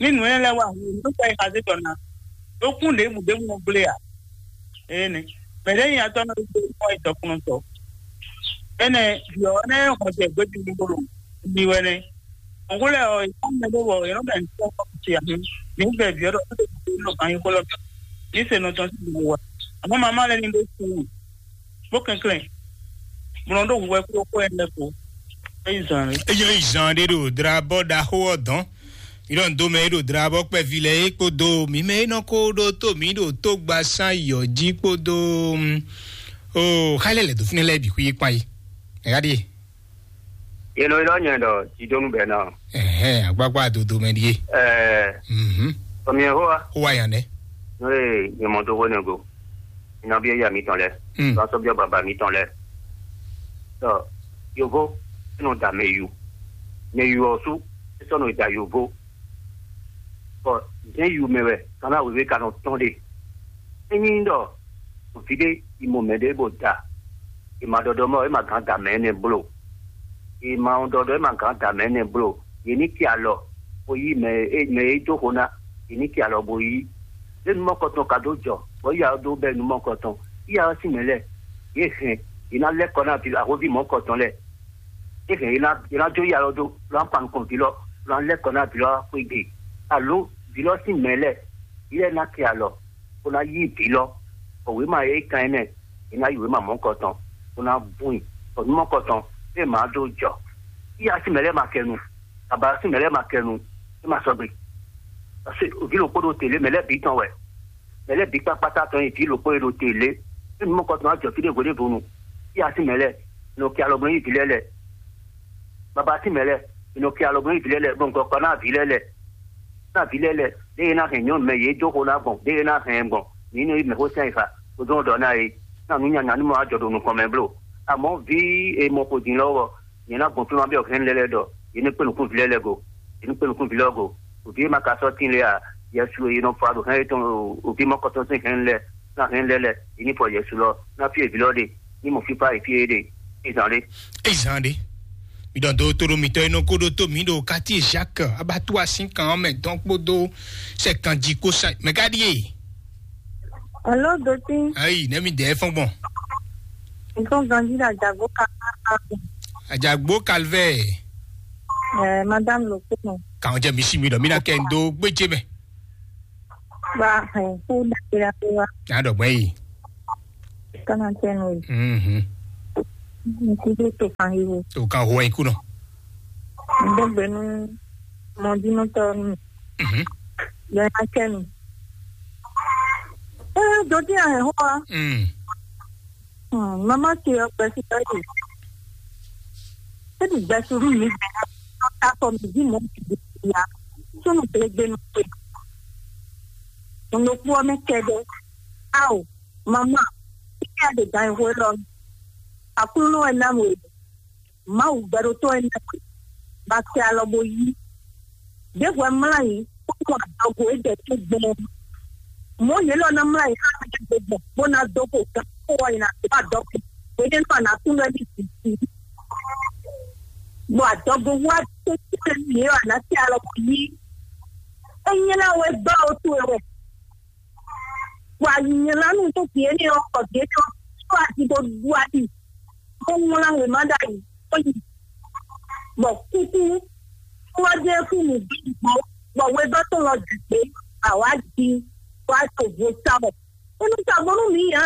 Ní nǔ énɛ́ lɛ́ɛ wá hu, nǔ tɔ́ e xa zé tɔ ná. Ɖó kún ɖěbǔ ɖěbǔ nɔ gblé ǎ. Énɛ́. Mɛ ɖě nyi atɔ́ nɔ ɖo mɔ yi dɔkunnɔtɔ. Énɛ́, vǐ ɔ́ nɛ́ hɔn jɛ gbéjú ní bolo. Mi wɛ nɛ́. Ògúnlẹ̀ ɔ́, ìfá mɛ ɖé wɔ yɔ̌ bɛ ń tɔ́ ti àmì. Ní bɛ vǐ ɔ́ ɖɔ tó tó tó lɔ kan yín kó lɔ bɛ. Ní se nɔ tɔn sí ìlú wa. Àmọ́ màmá lɛ ní bó kú. Bó kɛnklɛ́n. Bùnà ɖó wíwẹ́ kúrò kó ẹ̀ lẹ́kọ. Eyi zan rẹ. Eyi zan ɖé ɖo dra bɔ ɖaxó ɔ́ dɔn. Ìɖɔn dó mɛ ɖo dra bɔ kpɛvi lɛ é kpódó mǐ mɛ é nɔ kó ɖó tó mǐ ɖo tó gba sán yɔ jí kpódó. O xá lɛ lɛ dó fínɛ lɛ bǐ xwí kpán yi. Ɛ̀yá ɖíe. Yelo ilɔ nyɛ ɖɔ jidonu bɛ nɔ. Ɛhɛn, agbagba dodo mɛ ɖie. Ɛɛ, Mhm. Tɔmiɛ hoa. Hoa yan nɛ. N'o ye nyɛmɔdogo ne go. Nɔbi eya mitɔn lɛ. Mm. Tɔnsɔbiɔ baba mitɔn lɛ. Tɔ, yovo, nɔ da mɛ yu. Mɛ yu ɔsu, sɔ nɔ da yovo. Bɔ zɛn yu mɛ wɛ, kana wewe ka nɔ tɔn de. Enyi ɖɔ vǐ ɖé yi mɔ mɛ ɖé bó da, è ma ɖɔɖɔ mɔ, è ma gǎn da mɛ énɛ́ bló. È ma ɖɔɖɔ, è ma gǎn da mɛ énɛ́ bló. Yě ní ki alɔ, bó yí mɛ e mɛ e dó xo ná, yě ní ki alɔ bó yí. Lé numɔkɔtɔn ka dó jɔ, bɔ yí alɔ dó bɛ numɔkɔtɔn. Yí alɔ sín mɛ lɛ, yě hɛn, yě ná lɛ́ kɔ ná ahóví mɔ̌kɔtɔn lɛ. Yě hɛn, yě ná yě ná jó yí alɔ dó, lɔ ná kpa nukɔn vǐ lɔ, lɔ ná lɛ́ kɔ ná vǐ lɔ xwé gbe. Alo vǐ lɔ sín mɛ lɛ, yě lɛ ná ki alɔ. Bó ná yí vǐ lɔ, bɔ wěma e kan ɛ nɛ́, è ná yi wěma mɔ̌kɔtɔn, bó ná bún i, bɔ nú mɔ̌kɔtɔn, é ma dó jɔ. Yíyá sín mɛ lɛ́ɛ ma kɛ nu, baba sín mɛ lɛ́ɛ ma kɛ nu, é ma sɔgbe. Parce que vǐ ɖokpó ɖo te lě, mɛ lɛ́ɛ bǐ tɔn wɛ, mɛ lɛ́ɛ bǐ kpákpátá tɔn nyi vǐ ɖokpó e ɖo te lě. É nú mɔ̌kɔtɔn ná jɔ fí ɖěvo ɖěvo nu, yíyá sín mɛ lɛ́ɛ, è nɔ ki alɔ gbɔn nyi vǐ lɛ́ɛ lɛ. Baba sín mɛ lɛ́ɛ, è nɔ ki alɔ gbɔn nyi vǐ lɛ́ɛ lɛ, bɔ nukɔn kpa ná vǐ lɛ́ɛ lɛ. Ná vǐ lɛ́ɛ lɛ, ɖé e ná hɛn nyɔ̌nu mɛ yě dó xo ná gbɔn, ɖé e ná hɛn gbɔn, mǐ nɔ yi mɛxó sɛn yi fa, kpódó ɖɔ ná é, ná nǔ nyanya ní mɔ wá jɔ ɖo nukɔn mɛ bló. Amɔ̌ vǐ e mɔ xo din lɔ́ ɔ́, nyɛ ná gbɔn fí ma byɔ́ hɛn lɛ́ɛ lɛ́ɛ ɖɔ, yě ní kpé nukún vǐ lɛ́ɛ lɛ́ɛ go, yě ní kpé nukún vǐ lɛ́ɛ go. Vǐ e ma ka sɔ́ tín lé a, Yɛsu e nɔ fa ɖo hɛn yětɔn o, vǐ mɔ̌kɔtɔn sín hɛn lɛ́ɛ, ná hɛn lɛ́ɛ lɛ́ɛ, yě ní fɔ Yɛsu lɔ, ná fí e vǐ lɔ ɖe, ní mɔ fífá e fí e ɖe, é zán ɖé. É zán ɖé. Mi ɖɔ do to ɖo mitɔ e nɔ ko ɖo to mi ɖo quartier Jacques Abatua sín kan ɔ́ mɛ dɔn kpódó sɛ kan jí kó sa mɛ ka ɖíe. Alo, Dotin. Ayi, ne mi dɛ fɔn gbɔn. Nǹkan ganji la jagbo ka. Ajagbo Calvaire. Eh, madame Lopeno. Kàn jẹ́ mi sí mi ɖɔ mí ná kẹ́ ń dó gbéjé mɛ. Ba hɛn kó ɖagbe ɖagbe wá. Ná ɖɔ gbɛ́ yìí. Kánà tẹ́ nu yìí. Mhm. N kú dó to kan yìí o. Tó kan ho ẹ̀ kú nɔ. N dó gbé nú mɔdínútɔ nù. Mhm. Bẹ́ẹ̀ ná tẹ́ nu. Ɛ dodí ahɛn hó wa. Mm. Hmm, mama ce ɔ gbɛsí bɛ́ ɖe. Eɖi gbɛsí ɖu mi gbɛ ná ta kɔ mi dzi mɔ mi ɖe ya. Sunu glegbe nu ce. Nukpó ɔ́ mɛ kɛɖɛ. Ao, mama, ike a ɖe gan ihwe lɔ. Aklúnɔ ɛ ná we. Mawu gbɛɖótɔ́ ɛ ná we. Ba kɛ alɔ bo yí. Ɖěvo ɛ mlá yi, kpódó adɔgo e ɖɛ tó gbɔn. Mɔ̌ yě lɔ ná mlá yi xá mɛ ɖěvo gbɔn, bó ná dó xo gǎn xó ɔ́ yi ná dó adɔgo. Hwenɛ́nu a nǎ kú nú ɛ́ ní vǐ jí. Bɔ adɔgo wá tó kú nú yě ɔ́, a nǎ tɛ alɔ bɔ yí. É nyí ná wɛ gbá o towe wɛ. Bɔ a nylá nú tó vǐ énɛ́ ɔ́, bɔ vǐ énɛ́ ɔ́ sɔ́ aji bó ɖu ali, bó wlán wěma ɖ'ayǐ, bó yi. Bɔ kúkú, kú ɔ́ jẹ́ kú nǔ bí gbó, bɔ wegɔ́ tɔn lɔ jɛ gbé, awǎ ji, bó wá to vo sá wɛ. É nɔ sa gbɔn nú mǐ ǎ.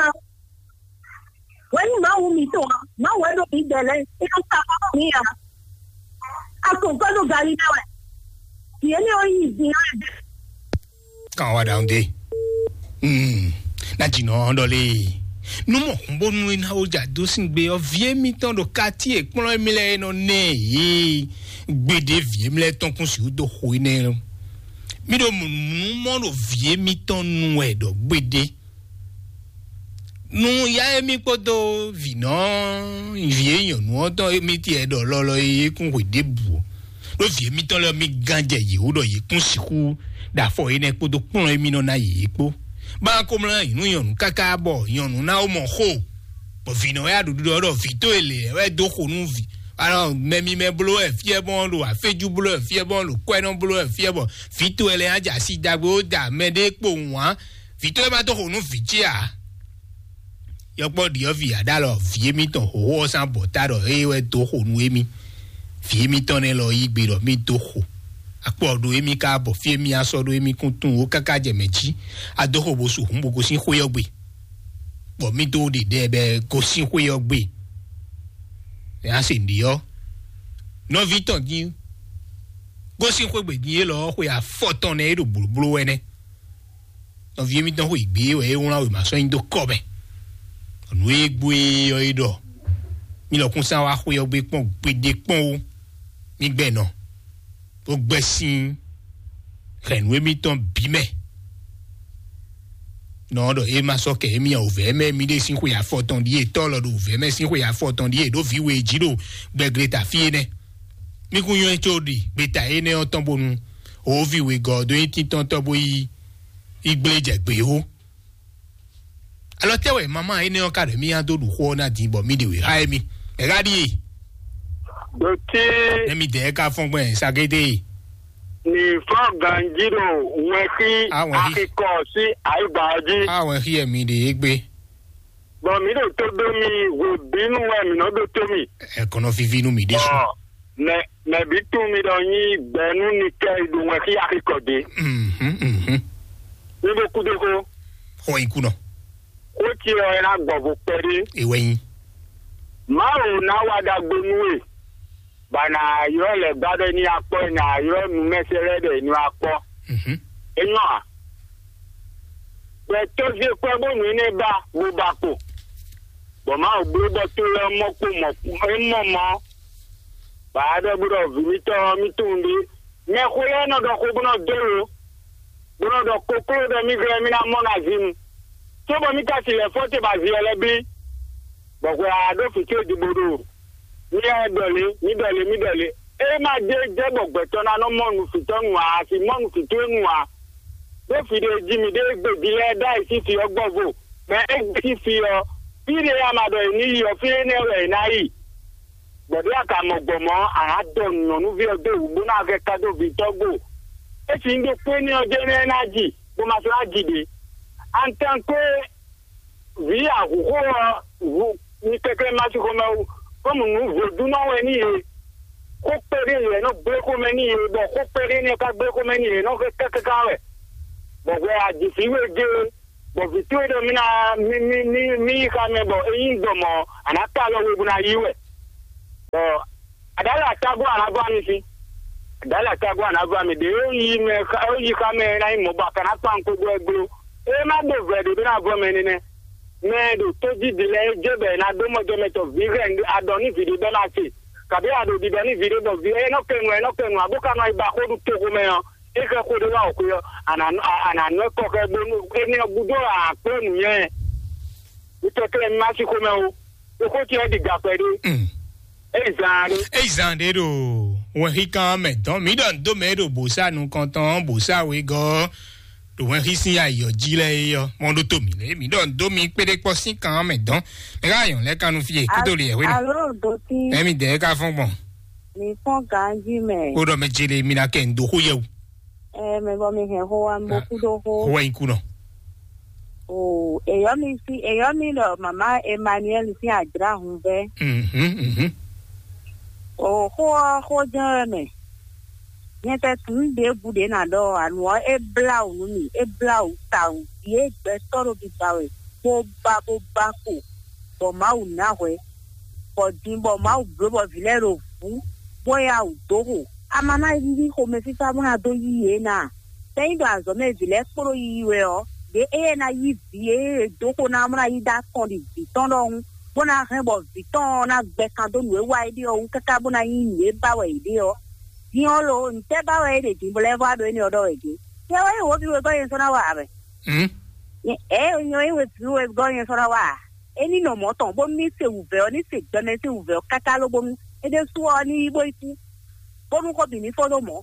Wɛ̌ nyí Mawu mǐtɔn ǎ. Mawu wɛ ɖo mǐ dɛ̌ lɛ́ɛ. É nɔ sa gbɔn nú mǐ ǎ. A kɔn gɔ́ ɖo galí mɛ wɛ. Vǐ énɛ́ ɔ́ nyi vǐ lɛ́ɛ. Kan wa ɖaŋ de. Hmm. Na dzi nɔ ɖɔ lé. Nu mɔ hun bónú é ná wó dza dó sín gbe ɔ́, vǐ émítɔn ɖo katíe kplɔ́n émí lɛ́ɛ nɔ nɛ yě. Gbeɖé vǐ émí lɛ́ɛ tɔn kún sixú dó xo énɛ́. Mí ɖo mǔ mɔ ɖo vǐ émítɔn nu wɛ ɖɔ gbeɖé. Nu ya émí kpódó vǐnɔ vǐ e nyɔ̌nu ɔ́ tɔn émí tiɛ ɖɔ lɔlɔ e é kún hwe ɖěbǔ ɔ́. Ɖó vǐ émítɔn lɛ́ɛ mí gán jɛ yě wú ɖɔ yě kún sixú ɖo afɔ énɛ́ kpódó kplɔ́n émí nɔ ná yě kpó. Bá ko mlá nyǐnu nyɔ̌nu káká bɔ nyɔ̌nu ná ó mɔ xó. Bɔ vǐnɔ ya ɖo ɖiɖɔ ɖɔ vǐ tó e lě wɛ dó xo nú vǐ. Alɔ mɛ mímɛ́ bló wɛ fíɛ bɔn ɖo aféjú bló wɛ fíɛ bɔn ɖo kwɛ́nɔ bló wɛ fíɛ bɔ vǐ tó e lɛ́ɛ ná jɛ asi dagbe ó da mɛ ɖé kpowun ǎ. Vǐ tó e ma dó xo nú vǐ ce ǎ. Yɔkpɔ́ ɖiɔ́vǐ aɖalɔ vǐ émítɔn hǒxo ɔ́ sín abɔ̌ta ɖɔ é wɛ dó xo nú émí. Vǐ émítɔn nɛ́ lɔ yí gbe ɖɔ mí dó xo. Akpɔ ɖo émí ka bɔ fí émí asɔ ɖó émí kún tunwun ó káká jɛ mɛ jí. A dó xo bo su hǔn bo gosín xwé ɔ́ gbe. Bɔ mí dó ɖiɖɛ bɛ gosín xwé ɔ́ gbe. Nya se ɖi ɔ́. Nɔví tɔn dín gosín xwé gbe dín élɔ́ xwe afɔtɔn nɛ é ɖo blǒbló wɛ nɛ́. Nɔví émítɔn xwe gbě wɛ é wlán wěma sɔ́ nyi dó kɔ mɛ. Nǔ e gbó é ɔ́ é ɖɔ: "Mí lɔkúnsán wá xwé ɔ́ gbé kpɔ́n gbeɖé kpɔ́n ó, mí gbɛ nɔ, bó gbɛ́ sín hɛ̌nnu émítɔn bǐ mɛ." Nɔ ɖɔ é ma sɔ́ kɛ émí ǎ, wǔvɛ́ mɛ mí ɖé sín xwe afɔtɔn ɖíe, tɔ́ lɔ ɖo wǔvɛ́ mɛ sín xwe afɔtɔn ɖíe ɖó vǐ we jí ɖo gbɛgleta fí énɛ́. Mí kún nywɛ́ có ɖi gbeta énɛ́ ɔ́ tɔn bónú wǒvi wegɔ́ ɔ́ dó nyí tíntɔ́ntɔ́ bó yí yi gblé jɛ gbě ó. Alɔ tɛ́ wɛ mama énɛ́ ɔ́ ka ɖɔ mí nya dó ɖu xó ɔ́ ná din bɔ mí ɖe wě xá émí? Mɛ̌ ká ɖíe? Ɖo tí Nɛ mi dɛɛ ka fɔn gbɛn sagédé. Ní fɔ ganjí ɖo wɛnxí Awɛnxí. Axikɔ sí ayigba ɔ́ jí. Awɛn xí ɛ mi ɖe é gbé. Bɔ mǐ ɖo tó dó mi, hwebǐnu wɛ mǐ nɔ ɖó tó mi. Ɛkɔnɔ vivi nú mi ɖésú. Ɔ, mɛ mɛ bí tún mi ɖɔ nyí gbɛnú ni kɛ ɖo wɛnxí axikɔ dé. Mhm, mhm. Mi bo kú dó xó. Xɔ yi kunɔ. Xó ce ɔ́ ná gbɔ vo kpɛɖé. Ewɛ nyi. Mawu ná wa ɖagbe nú we. Ba nà ylɔ́ lɛ̌ gbá ɖɔ ní akpɔ́, nà ylɔ́ nǔmɛsɛ́ lɛ́ɛ ɖɔ è nɔ akpɔ́. Mhm. É nyɔ́ a? Gbɛtɔ́ zé kwɛ́ bónú énɛ́ ba, bó ba kpo. Bɔ Mawu bló bɔ tó lɛ́ɛ mɔ kpo mɔ é mɔ mɔ. Ba ɖɔ bó ɖɔ vǐ mitɔn ɔ́, mì tunwun ɖé. Mɛxó lɛ́ɛ nɔ ɖɔ xó bó nɔ dó lo, bó nɔ ɖɔ kokló ɖɔ mì glɛ́ mì ná mɔ na zinu. Cóbɔ mì ka si lɛ̌ fɔ te ba zi ɔ́ lɛ́ bí. Bɔ hwɛ a ɖó fǐ ce jí bó ɖo. Mì lɛ́ɛ ɖɔ lě, mì ɖɔ lě, mì ɖɔ lě. É ma jɛ jɛ bɔ gbɛtɔ́ ná nɔ mɔ nufǐtɔ́ nu ǎ, a si mɔ nufǐtɔ́ nu ǎ. Ɖó fí ɖé jí mì ɖe gbe ví lɛ́ɛ ɖ'ayǐ sín fí ɔ́ gbɔn vo, bɔ é gbe sín fí ɔ́, fí ɖé a ma ɖɔ è ní yi ɔ́, fí énɛ́ wɛ è ná yi. Bɔ ɖě a ka mɔ gbɔn mɔ̌, a nǎ dɔ nyɔ̌nuví ɔ́ dó wǔ bó ná vɛ ka dó vǐtɔ́ gbo. É si nyí ɖokpó énɛ́ ɔ́ jɛ́n nɛ́ ná ji, bó ma sɔ́ ná ji ɖě. Antankwe vǐ ahǔxó ɔ́, hu mi kɛnklɛ́n ma sín xomɛ wú, kɔ́mu nǔ vodúnɔ wɛ n'i e. Xó kpɛɖé yě nɔ gblé xomɛ n'i yě, bɔ xó kpɛɖé n'i ka gblé xomɛ n'i yě nɔ xɛ kákáká wɛ. Bɔ hwɛ a ji vǐ we gé, bɔ vǐ towe ɖɔ mí ná mí mí mí mí yi xá mɛ, bɔ é nyí gbɔ mɔ̌, a nǎ ka alɔ we bó ná yí wɛ. Bɔ aɖǎli atágún a nǎ vɔ ami fí. Aɖǎli atágún a nǎ vɔ ami ɖě ó yi mɛ ó yi xá mɛ ná nyí mɔ̌ bɔ a ka ná kpan kpó gbɔ é gló. É má ɖo vɛ̌ ɖě bó ná vɔ mɛ nínɛ́. Mɛ e ɖo tójídí lɛ́ɛ é jɛ bɔ è nǎ ɖó mɔjɛmɛtɔ́ vǐ hɛn aɖɔ nú vǐ ɖé bɔ é ná se, kabǐ a ɖo ɖiɖɔ nú vǐ ɖé bɔ vǐ é nɔ kɛ nu, é nɔ kɛ nu, abó ka nɔ yi ba xó ɖu toxo mɛ ɔ́, é xɛ xó ɖé wá wǒxwe ɔ́, a nǎ a- a nǎ nɔ ɛ kɔ xɛ bónú énɛ́ ɔ́ gúdo ǎ kplɔ́ nǔnywɛ́. Mǐ tɔ kɛ́ mì má sí xomɛ ó, é xó ce ɔ́ ɖi gǎkpɛ ɖé. Mm. É zan ɖé. Eyi zan ɖé ɖo wɛnxíkan mɛ dɔn mǐ ɖɔ nǔ dó mɛ ɖo bǒsá nukɔntɔn bǒsá wegɔ́ ɖo wɛnxí sín ayǐ ɔ́ jí lɛ́ɛ é ɔ́, mɔ ɖó to mǐ lé mǐ ɖɔ nǔ dó mi kpéɖé kpɔ́ sín kan mɛ dɔn mɛ ká yɔn lɛ́ kanu fí yě kúdó lɛ wé nɔ. Alo doti. Ɛmi dɛ ká fɔn gbɔn. Mi fɔn ganji mɛ. Ó ɖɔ mɛ jele mi na kɛ nǔ dó xó yɛ o. Ɛ mɛ bɔ mi hɛn xó wa mi bo kú dó xó. Xó wɛ nyi kú nɔ. O èyɔ mi sí èyɔ mi ɖɔ mama Emmanuel sín ajlá hun vɛ. Mhm, mhm. O xó ɔ xó jɛn wɛ mɛ. Nyɛ tɛ tun ɖěbǔ ɖě ná ɖɔ anu ɔ́ é blá wǔ nú mì é blá wǔ tawun. Yě gbɛtɔ́ ɖo biba wɛ bó ba bó ba kpo bɔ Mawu ná hwɛ bɔ din bɔ Mawu bló bɔ vǐ lɛ́ɛ ɖo vǔ bó yá wǔ dó xo. A ma ná yí xomɛfífá bó ná dó yí yě ná. Tɛ́ nyí ɖo azɔ̌ mɛ vǐ lɛ́ɛ kpló yiyi wɛ ɔ́, ɖě éyɛ́ ná yí vǐ e è dó xo ná ɔ́ ná yí ɖó atɔn ɖi vǐ tɔn ɖɔhun, bó ná hɛn bɔ vǐ tɔn ɔ́ ná gbɛ kan dó nǔ e wa é ɖe ɔ́ wú káká bó ná nyí nǔ e ba wɛ yě ɖe ɔ́. Din ɔ́ lo, ntɛ́ ba wɛ é ɖe din bó lɛ́ vɔ wá ɖo énɛ́ ɔ́ ɖɔ wɛ din? Yɛ wɛ nyí wǒ vǐ wegɔ́ nyɛ sɔ́ ná wa ǎ mɛ. Ɛ nyɛ wɛ nyí wǒ vǐ wegɔ́ nyɛ sɔ́ ná wa ǎ. É ní nɔ mɔ̌ tɔn bónú ní se wǔvɛ́ ɔ́ ní se gbɛmɛ sín wǔvɛ́ ɔ́ káká lóbónú é ɖésú ɔ́ ní yi bó yi kú. Bónú xó bǐ ní fó dó mɔ̌.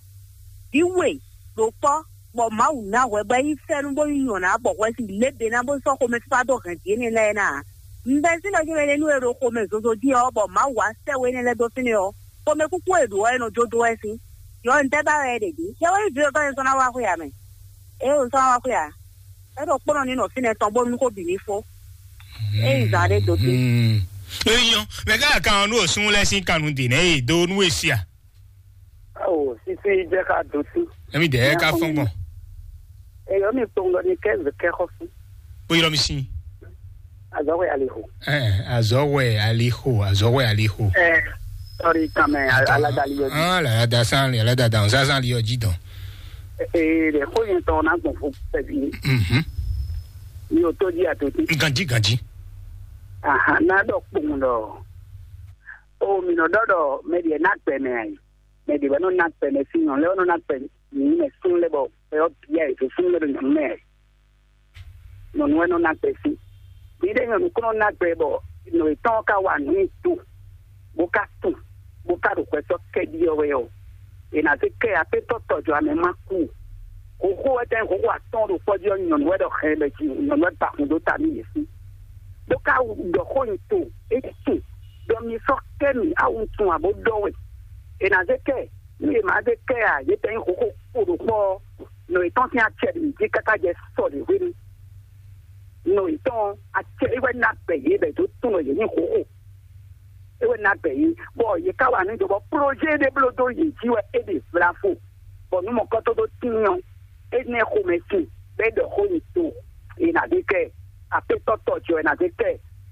Vǐ we ɖo kpɔ́, bɔ Mawu ná hwɛ bɔ é yí fɛ́nú bó yí nyɔ̌ná bɔ hwɛ sin lěbě ná bó sɔ́ xomɛfífá dó hɛn vǐ énɛ́ lɛ́ɛ ná ǎ. Un bɛ́ sín ɖɔ nyi mɛ ɖé nú e ɖo xomɛ zozo jí ɔ́, bɔ Mawu wá sɛ́ we énɛ́ lɛ́ɛ dó fínɛ́ ɔ́, xomɛkúkú e ɖǒ ɔ́, é nɔ jó dó wɛ sín. Yɔ un tɛ́ ba wɛ é ɖe dě? Yɛ wɛ nyí vǐ wegɔ́ nyɛ sɔ́ ná wá xwé ǎ mɛ. É o sɔ́ ná wá xwé ǎ. É ɖo kpɔ́nɔ ní nɔ fínɛ́ tɔn bónú xó bǐ ní fó. É yi zǎn ɖé dó dé. Eyɔn, mɛ ká kan nú òsún lɛ sín kanu dè nɛ e do nú esi a? Awo sisi jẹ́ ká dó sí. Èmi dẹ̀ ká fɔn gbɔn. Èyí mi kpɔn lọ ní kẹ́ zè kẹ́ xɔ fún. Bó yọrọ mi sí. Azɔwɛ aliho. Ɛ azɔwɛ aliho azɔwɛ aliho. Ɛ sɔri kan mɛ aladali yɔ di. Ah, aladasa aladada ọ̀sán san lè yọjí dán. Ee, ɖe xó yẹn tɔn ná gbɔn fún pɛbi. Mhm. Ní o tó jí àtòtí. Ganjí ganjí. Aha, ná dɔ kpɔn dɔ. O mi nɔ dɔ dɔ mɛ diɛ ná gbɛ mɛ ayi. Mɛ diɛ bɛ nɔ ná gbɛ mɛ sí nyɔnu lɛ nɔ ná gbɛ mɛ sún lɛ bɔ ɛ yɔ bia ɛ tó sún lɛ bɛ nyɔnu mɛ. Nyɔnu wɛ nɔ ná gbɛ sí. Mǐɖée nyɔnu kún nɔ ná gbɛ bɔ nɔ yětɔn ka wa nǔ nyi to, bó ka tun, bó ka ɖo hwɛ sɔ́ kɛ ɖi ɔ́ wɛ ɔ́, è nǎ zé kɛ aƒetɔ tɔjɔamɛ ma kú. Xoxo wɛ tɛn xoxo atɔn ɖo kpɔ́ jí ɔ́, nyɔnu wɛ ɖɔ hɛn bɛ jí nyɔnu wɛ ba hun dó ta nú yě sí. Bó ka ɖɔ xó nyi to, é tun, ɖɔ mi sɔ́ kɛ mì awu tun abo ɖɔ wɛ. È nǎ zé kɛ, nú yě má zé kɛ ǎ, yě tɛn nyí xoxo kpo ɖo kpɔ́ ɔ́, nɔ yětɔn sín acɛ ɖě jí káká jɛ sɔ ɖě hwenu. Nɔ yětɔn acɛ é wɛ ná bɛ yě bɛ dó tunwun yě nyí xoxo. É wɛ ná bɛ yě, bɔ yě ká wa nǔ jɔ bɔ projet ɖé bló dó yě jí wɛ é ɖe vlafo, bɔ nǔ mɔ̌kɔ́tɔ́ ɖó tín ɔ́, énɛ́ xomɛ sin bɔ é ɖɔ xó nyi to, è nǎ zé kɛ, aƒetɔ tɔ ce wɛ ná zé kɛ,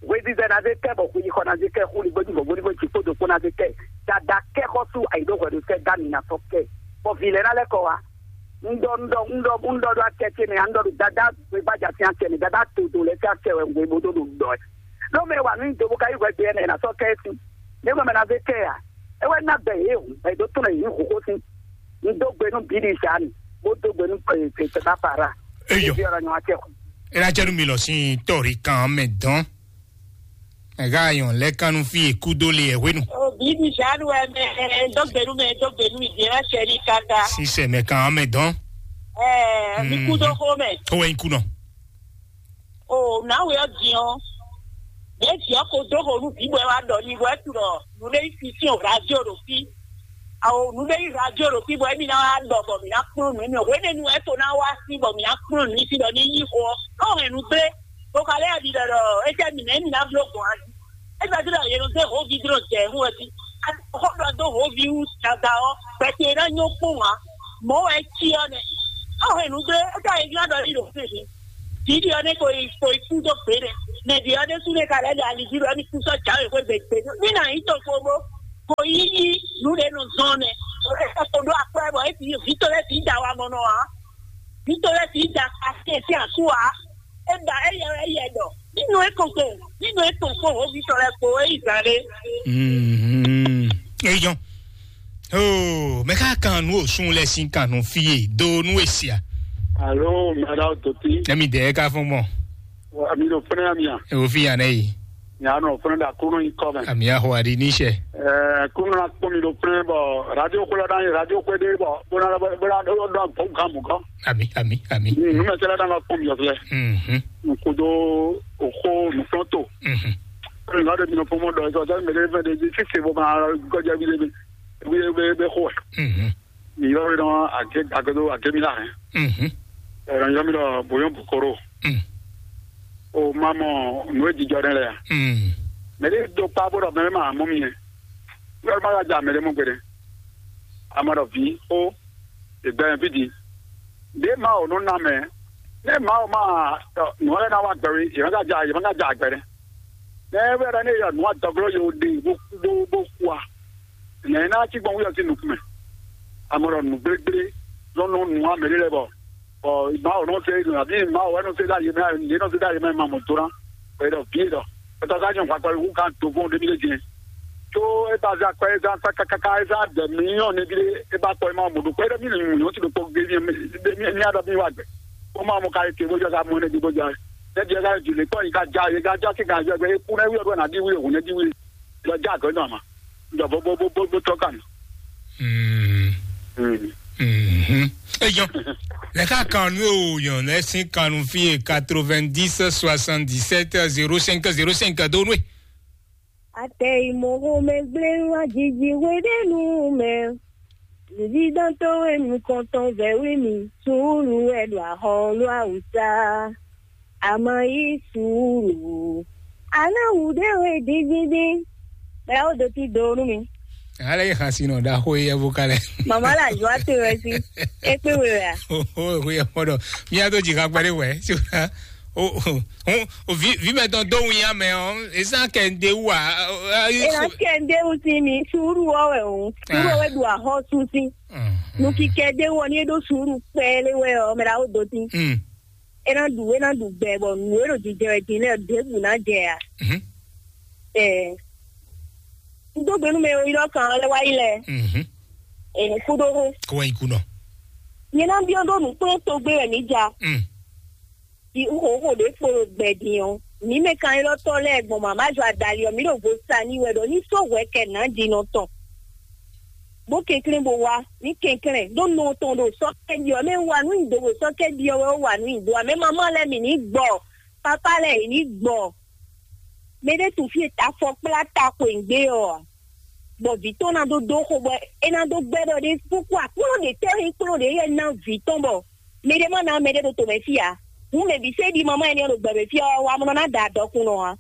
hwezizɛ ná zé kɛ, bɔ xweyixɔ ná zé kɛ, xúligbójú bɔ gbódúgbò jí kpódó kpó ná zé kɛ, dada kɛ xɔ́sú ayǐɖóhwɛɖótɛ́ dá mi ná sɔ́ kɛ, bɔ vǐ lɛ́ɛ ná lɛ́ kɔ wá. Un ɖɔ un ɖɔ un ɖɔ un ɖɔ ɖo acɛ ce mɛ, un ɖɔ ɖo dada gbegbaja sín acɛ mɛ, dada todo lɛ sín acɛ wɛ un bó ɖo ɖo ɖɔ ɛ. Ɖó mɛ wa nú do bó ka yí hwɛ gbe ɛnɛ ná sɔ́ kɛ sí. Ní mɛ ná zé kɛ a? É wɛ ná bɛ yě hǔn bɛ dó tɔn yě hǒxó sín. Un dó gbe nú bǐ ɖi zǎn, bó dó gbe nú pɛpɛ bá para. Eyɔ. Bí ọ̀rọ̀ yẹn wá tẹ̀ kù. Ela jẹ́ nu mi lọ sí tɔ̀rí kan mɛ dán. Ega yon lɛ kanu fi e kudo le e hwenu. O bibi janu wɛ mɛ dɔgbenu mɛ dɔgbenu mi diɛ ma sɛ ni kaka. Sisɛ mɛ kan mɛ dɔn. Ɛɛ mi kudo xo mɛ. O wɛ nyi kunɔ. O nawe ɔ diɔ. Ne diɔ ko do xo nu bi bɔ wa dɔ ni bɔ etu dɔ nu ne fi si o radio ɖo fi. Awo nu ne yi radio ɖo fi bɔ emi na wa dɔ bɔ mi na kplɔn nu emi o wene nu eto na wa si bɔ mi na kplɔn nu si dɔ ni yi xo ɔ. N'o hɛn nu gblé. Bó ka lɛ́ ɖi ɖɔ ɖɔ étɛ́ mǐ nɛ́ mǐ ná bló gbɔn a jí? É gbɛ́ dó ɖɔ yě nɔ zé hǒví dó jɛ hú wɛ jí. Xó ɖɔ dó hǒví wú dada ɔ́, gbɛtɛ e ná nyɔ́ kpɔ́n ǎ. Mɔ̌ wɛ é cí ɔ́ nɛ́. Ɔ́ hɛn nǔ dó é ká yi glá ɖɔ yí ɖo fínfín. Vǐɖi ɔ́ nɛ́ ko yi ko yi kú dó gbě nɛ́. Mɛ vǐ ɔ́ ɖésú nɛ́ ka lɛ́ ɖe ali jí ɖɔ émí kú sɔ́ jǎwe xwé gběgbé. Mí ná nyí toxo bó ko yí yí nǔ ɖé nɔ zɔn nɛ́. É ka ko ɖó akwɛ́ bɔ é vǐ vǐ tɔn lɛ́ɛ vǐ da wa mɔ nɔ ǎ. Vǐ tɔn lɛ́ɛ vǐ da ka tɛ́ntin asú ǎ. É ba éyɛ wɛ éyɛ ɖɔ. Nínú é kɔn kpo, nínú é kɔn kpo hǒví tɔn lɛ́ɛ kpo é yi zǎn ɖé. Mhm. Eyɔn. Oh, mɛ ka kan nu osun lɛ sin kan nu fie do nu esia. Alo, mɛɖa doti. Emi de ka fún mɔ. Ami do fúnɛ amia. E wo fi yan ne yi. Nya nɔ fúnɛ da kúnú yi kɔ mɛ. Ami aho adi ni sɛ. Ɛɛ, kúnú na kpɔn mi do fúnɛ bɔ radio kúlɔ na yi radio kúlɔ de bɔ bó na bó na dɔ dɔ bɔ gamu kɔ. Ami, ami, ami. Numɛ tɛ la na kpɔn mi yɔ filɛ. Mhm. Nkudo oko nuflɔnto. Mhm. Nka de mi nɔ fɔmɔ dɔ ɛsɛ ɔsɛ mɛ de fɛ de di sise bɔ ma gɔdza bi de bi bi bi bi xo. Mhm. Mi yɔ mi dɔn ake ake do ake mi la hɛn. Mhm. Ɛɛ, yɔ mi dɔ boyɔn bukoro. Mm. O ma mɔ nu e jijɔ ne lɛ ya. Mm. Mɛ de do kpa bó dɔ mɛ ma mɔ mi yɛ. Yɔ ma ka ja mɛ de mɔ gbe de. Ama dɔ vi o ìgbà yẹn fídí. Ɖě Mawu nɔ ná mɛ. Nɛ́ Mawu ma nǔ lɛ́ɛ ná wá gbɛ wé, yě má ka ja yě má ka ja gbɛ nɛ́. Nɛ́ wɛ ɖɔ nɛ́ yɔ nǔ adɔglɔ́ yě ɖe bó bó bó kú a? Nɛ̌ ná cí gbɔn wúyɔ sín nukún mɛ? Amɔ ɖɔ nǔgblégbé nɔ nɔ nǔ amɛ ɖé lɛ́ɛ bɔ bɔ Mawu nɔ se nǔ abǐ Mawu wɛ nɔ se ɖó ayé mɛ, yě nɔ se ɖó ayé mɛ ma mɔ dó ná. Bɔ é ɖɔ vǐ é ɖɔ. Pɛtɛ ɔ́ ka nyɔ hwakpɛ wú kan do fún ɖémí lé din. Tó é ba zé akwɛ́ é zán kákákáká é zán dɛ mǐ nyɔ nɛbí ɖé é ba kpɔ é ma mɔ ɖo kpɛ́ ɖɔ mí nɔ nyɔ tí ɖokpó gé mí mí a ɖɔ mí wá gbɛ. Ó ma mɔ ka é te bó jɔ ka mɔ nɛbí bó jɔ. Nɛbí é ka jù lé kpɔ́ yí ka já é ka já sí ka jɔ gbɛ é kú nɛbí ɔ́ ɖɔ nà ɖi wí òhun nɛbí wí. Lɔ já gɔ̌ nɔ àmà. Jɔ bó bó bó bó bó tɔ́ kàn. Mm. Mm. Mhm. Eyɔn. Lɛ ka kan nu o yɔn lɛ sin kan nu fi e quatre-vingt-dix soixante-dix-sept zéro cinq zéro cinq do nu e. Atɛ ìmọ̀ho mɛ gblé wá jiji hwe ɖé nu mɛ. Vǐvítɔ́ towe nukɔntɔn vɛ̌ wí mì, suúlu wɛ ɖo axɔ ló awǔsá. A ma yí suúlu. A ná wǔ ɖé we dídídí. Bɛlɛ ó do tí do nú mi. Ale yi xasi nɔ ɖaxó yi ɛvo kalɛ. Mama la jɔ ate wɛ si. Ekpe we wɛ a? Oho, eho yɛ mɔ ɖɔ. Mi a do dzi kakpa ɖe wɛ. So na. O o o vi vi mɛ tɔn do wun ya mɛ ɔ. Esa kɛ nde wu a. Ena kɛ nde wu si mi. Suuru wɔ wɛ o. Suuru wɛ do ahɔ su si. Nukikɛ de wɔ ni e ɖo suuru kpɛɛ le wɛ ɔ, mɛ la o do ti. Mm. E na ɖu e na ɖu gbɛ bɔ nǔ e ɖo jijɛ wɛ din lɛ ɖěbǔ ná jɛ a? Mhm. Ɛɛ, n dó gbe nú mɛ e yɔ kan lɛ wá yi lɛ. Mhm. Ɛɛ, kúdóhó. Kó wá yi kú nɔ. Nyɛ ná biɔ ɖó nǔkplɔ́n togbe wɛ mǐ ja. Mm. Di xóxó ɖě kpo ɖo gbɛ din ɔ́, mǐ mɛ kanylɔ́tɔ́ lɛ́ɛ gbɔn mama jɔ adali ɔ́, mǐ ɖo vo sa n'i wɛ ɖɔ ní sɔ́ hwɛ kɛ nǎjinɔ tɔn. Bó kɛnklɛ́n bó wá, ní kɛnklɛ́n ɖó nɔ tɔn ɖo sɔ́ kɛ ɖi ɔ́, mɛ wa nǔ nyi do ɖo sɔ́ kɛ ɖi ɔ́ wɛ ó wa nǔ nyi do ǎ. Mɛ mamá lɛ́ɛ mǐ ní gbɔ, pápá lɛ́ɛ yě ní gbɔ. Mɛ ɖé tunwun fí e afɔ kplá ta xweyǐgbe ɔ́ ǎ. Bɔ vǐ tɔn ná dó dó xo bɔ é ná dó gbɛ́ ɖɔ ɖé kúkú aklúnɔ ɖě tɛ́ nyí kplɔ́n ɖě yɛ ná vǐ tɔn bɔ mɛ ɖé má ná mɛ ɖé ɖo tomɛ fí ǎ. Hǔn mɛ bǐ sɛ́ ɖi mamá ɛnɛ ɖo gbɛmɛ fí ɔ́, wa mɔ ná da dɔkunnɔ ǎ.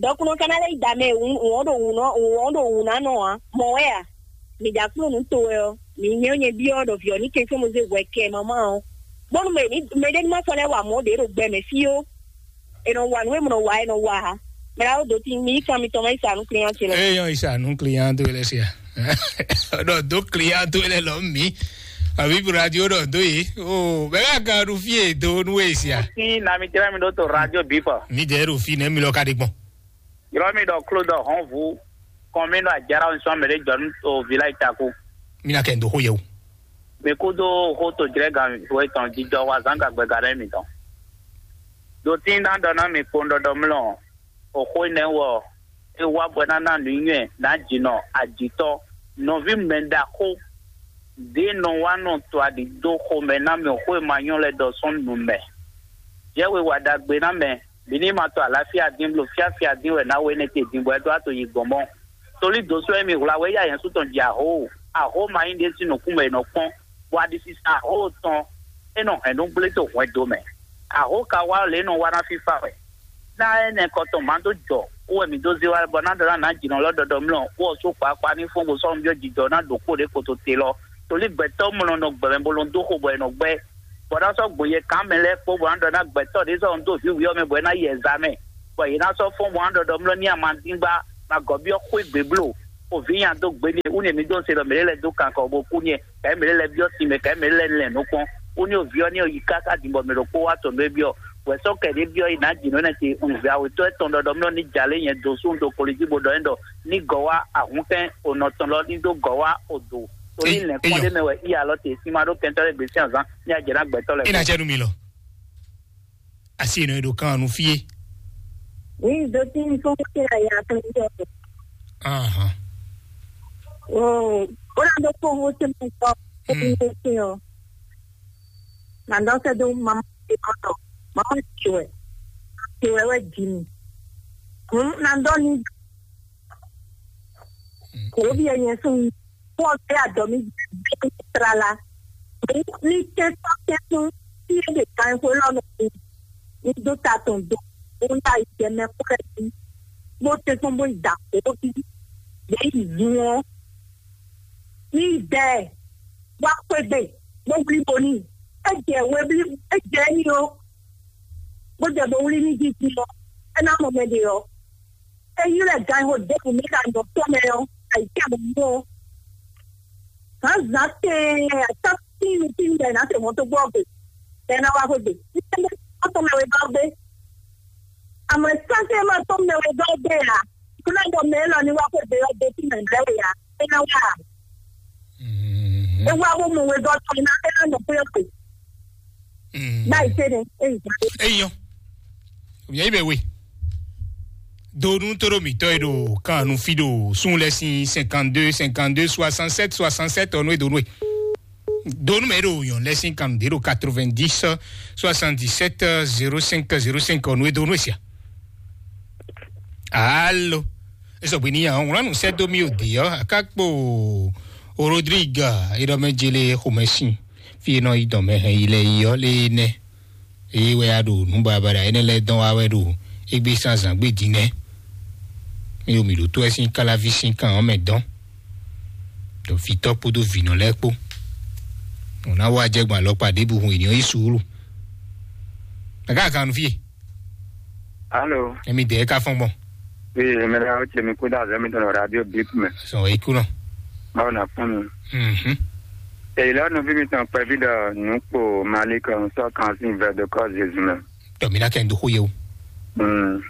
Dɔkunnɔ ka ná lɛ́ yi da mɛ wǔ wǔn ɖo wǔ nɔ wǔn ɖo wǔ ná nɔ ǎ. Mɔ̌ wɛ a? Mǐ ɖo aklúnɔ nǔ to wɛ ɔ́, mǐ nyɛ nyɛ byɔ́ ɖɔ vǐ ɔ́ ní kɛnklɛ́n mɔ zé hwɛ kɛ mamá ɔ́. Bónú mɛ ní mɛ ɖé ní má sɔ́ lɛ́ wa mɔ̌ ɖě ɖo gbɛmɛ fí ó. E nɔ wa nǔ e mɔ nɔ wa e nɔ wa ha. Mɛ la wo do ti mi kan mi tɔn ma yi sa nu client ce lɛ. Eyɔn isa nu client to lɛ sia. Ɖɔ do client to lɛ lɔ mi. Abi radio ɖɔ do ye. O bɛ ka kan ɖu fie do nu e sia. Sin na mi tẹ́lẹ̀ mi ɖo to radio bífọ̀. Mi jɛ ɖo fi nɛ mi lɔ ka ɖe gbɔn. Yɔrɔ mi ɖɔ klo dɔ hɔn vu kɔn mi ɖo ajara nsɔn mɛ ɖe jɔ nu o village tako. Mi na kɛ ndo xo yɛ o. Mi kúdó xó tojlɛ́gán we tɔn jijɔ wá zán gagbɛga ɖé mitɔn. Ɖo tín ná ɖɔ ná mi kpowun ɖɔɖɔ mlɔ, o xó énɛ́ wɔ é wá bɔ é ná ná nǔnywɛ́ nǎjínɔ ajǐtɔ́, nɔví mɛ ɖaxó ɖě nɔ wá nɔ to aɖǐ dó xomɛ ná mɛ xó e ma nyɔ́ lɛ́ɛ ɖɔ sɔ́ nu mɛ. Jɛ́ we wa ɖagbe ná mɛ, mǐ ní ma to aláfíà dín bló fíáfíà dín wɛ ná we énɛ́ te din bɔ é ɖó ato yi gbɔn mɔ́. Tolí dǒswɛ e mi hwla wɛ yá yɛn sú tɔn jɛ ahó, ahó ma nyí ɖé sín nǔkún mɛ è nɔ kpɔ́n, bɔ aɖisisa ahó tɔn é nɔ hɛn nú gblé to hwɛndo mɛ. Ahó ka wá lě nɔ wá ná fífá wɛ. Ná énɛ́ kɔtɔn má dó jɔ, Wú wɛ mǐ dó zé wá bɔ ná ɖɔ ná nǎ jǐnɔ lɔ ɖɔɖɔ mlɔ wú ɔ sú kpakpa ní fún bó sɔ́ nǔ byɔ́ jijɔ ná ɖo kpó ɖě kpoto te lɔ. Tolí gbɛtɔ́ mlɔ nɔ gbɛmɛ bó lɔn dó xo bɔ è nɔ gbɛ́. Bɔ ná sɔ́ gbo yɛ kǎn mɛ lɛ́ɛ kpó bɔ ná ɖɔ ná gbɛtɔ́ ɖě sɔ́ nɔ dó vǐ wǐ ɔ́ mɛ bɔ é ná yɛ zǎ mɛ. Bɔ yě ná sɔ́ fɔ́n bɔ ná ɖɔɖɔ mlɔ ní amadíngba, ma gɔ̌ byɔ́ xwé gbě bló. O vǐ nya dó gbéɖée, wú nɛ mi dó se ɖɔ mɛ ɖé lɛ́ɛ dó kankɔ bó kú n'i, kɛ̌ mɛ ɖé lɛ́ɛ byɔ́ sin mɛ, kɛ̌ mɛ ɖé lɛ́ɛ lɛn nǔ kpɔ́n. Wú ní o vǐ ɔ́ ní o yi káká din bɔ mɛ ɖokpó wá tɔn ɖó é byɔ́. Wɛ̌ sɔ́ kɛ ɖě byɔ́ yi nǎ jǐ nǔ énɛ́ ce un vǐ awětɔ́ étɔn ɖɔɖɔ mlɔ́ ní jalé nyɛ dó sú un dó koli jí bó ɖɔ é ɖɔ ní gɔ̌ wá ahǔnkɛ́n o nɔ tɔn lɔ ní dó gɔ̌ wá o dǒ. Torí Ei, lɛ̌nkpɔ́n eyɔ. Ɖé mɛ wɛ í alɔ te sín ma ɖó kɛntɔ́ lɛ́ɛ gbèsè azán ní ajɛ ná gbɛtɔ́ lɛ́ɛ. Ina jɛ nu mi lɔ. Asi enɔ e ɖo kan nu fie. Oui, do tin fún kí la ya fún yɔ. Ahan. Oh, ó ná dó kó owó tí mo sọ fún Mm. mi tó sí ọ. Nà dán sẹ́ dó mamá ti kọ́tọ̀. Mamá ti wẹ̀. Ti wẹ̀ wẹ̀ jì mí. Hǔn nà dán ní kò ó bí ẹyẹ sún mi. Fún ọtí àdọ́ mi bí tlala. Ní tẹ́tọ́ tẹ́tún tí é lè ka ẹ̀kọ́ lọ́nà mi. Ní dó ta tɔn dó. Ó ń ta ìjẹmẹ kúrẹ́ sí. Bó tẹ́tún bó ìdàpọ̀ ó bí. Yẹ ìlú wọn. Ní ìdẹ́ ẹ̀ wá xwégbe bó wlí bo ní. É jẹ wé blí, é jẹ ní ó. Bó jẹ bó wlí ní jíjí ɔ, é ná mɔ mɛ ɖe ɔ. É ylɔ́ ɛ ganxixo ɖěbǔ mɛ ɖo anyɔ tɔn mɛ ɔ́, ayǐtéhɔ̌nnu ɔ́. Zǎnzǎn tɛɛn, atá tíin tíin bɔ è nǎ se mɔ̌ tó gbɔ gbe, bɔ è ná wá xwé gbe. Ní tɛ́nɛ́ tɔn mɛ wegɔ́ gbé. Àmọ́ sánsẹ́ máa tɔn mɛ wegɔ́ gbé ǎ. Kúnlẹ̀ bɔ mɛ élɔ́ ní wá xwé gbe ɔ́ dé tí mɛ bɛ́ wè ǎ. É ná wá ǎ. Mhm. É wá bó mɔ wegɔ́ tɔn ná, é ná nɔ xwé gbe. Mhm. Báyìí tẹ́lẹ̀, é yìí gbà. Eyɔ. Omi ayi bɛ we. Donu toro mitɔ e ɖo kan nu fi ɖo sun lɛ sin cinquante-deux cinquante-deux soixante-sept soixante-sept ɔnu e donu e. Donu mɛ ɖo yɔn lɛ sin kan ɖe ɖo quatre-vingt-dix soixante-dix-sept zéro cinq zéro cinq ɔnu e donu e sia. Alo. Esɔ gbe ni ya ɔn wlanu sɛ do mi o de ɔ akakpo Rodrigue e ɖɔ mɛ jele xomɛ sin. Fi e nɔ yi dɔn mɛ hɛn yi lɛ yi ɔ le nɛ. Eye wɛ a ɖo nǔ baɖabaɖa énɛ́ lɛ́ɛ dɔn wá wɛ ɖo égbé zǎnzǎn gbé din nɛ́. Mi ɖo mǐ ɖótó wɛ sín káláví sín kan ɔ́ mɛ dɔn, ɖo vǐtɔ́ kpódó vǐnɔ lɛ́ɛ kpó. Nǔ ná wá jɛ gbɔn alɔkpa ɖěbǔ hun è nǐ ɔ́ yí suúlu. Mɛ ká kan nu fí e? Alo. Emi dɛ ka fɔn gbɔn. Ee, mɛ ɖe awo ce mi kú dá azɔ mi tɔn radio bip mɛ. Sɔ e kú nɔ. Báwo na fún mi? Mhm. Èyí lọ́nà bí mi tàn pẹ́ bí dọ̀ nù pò Mali kan sọ kan sí ìfẹ́ de kọ́ Jésus mẹ́. Tɔ mi na kɛ n do xó ye o. Mm.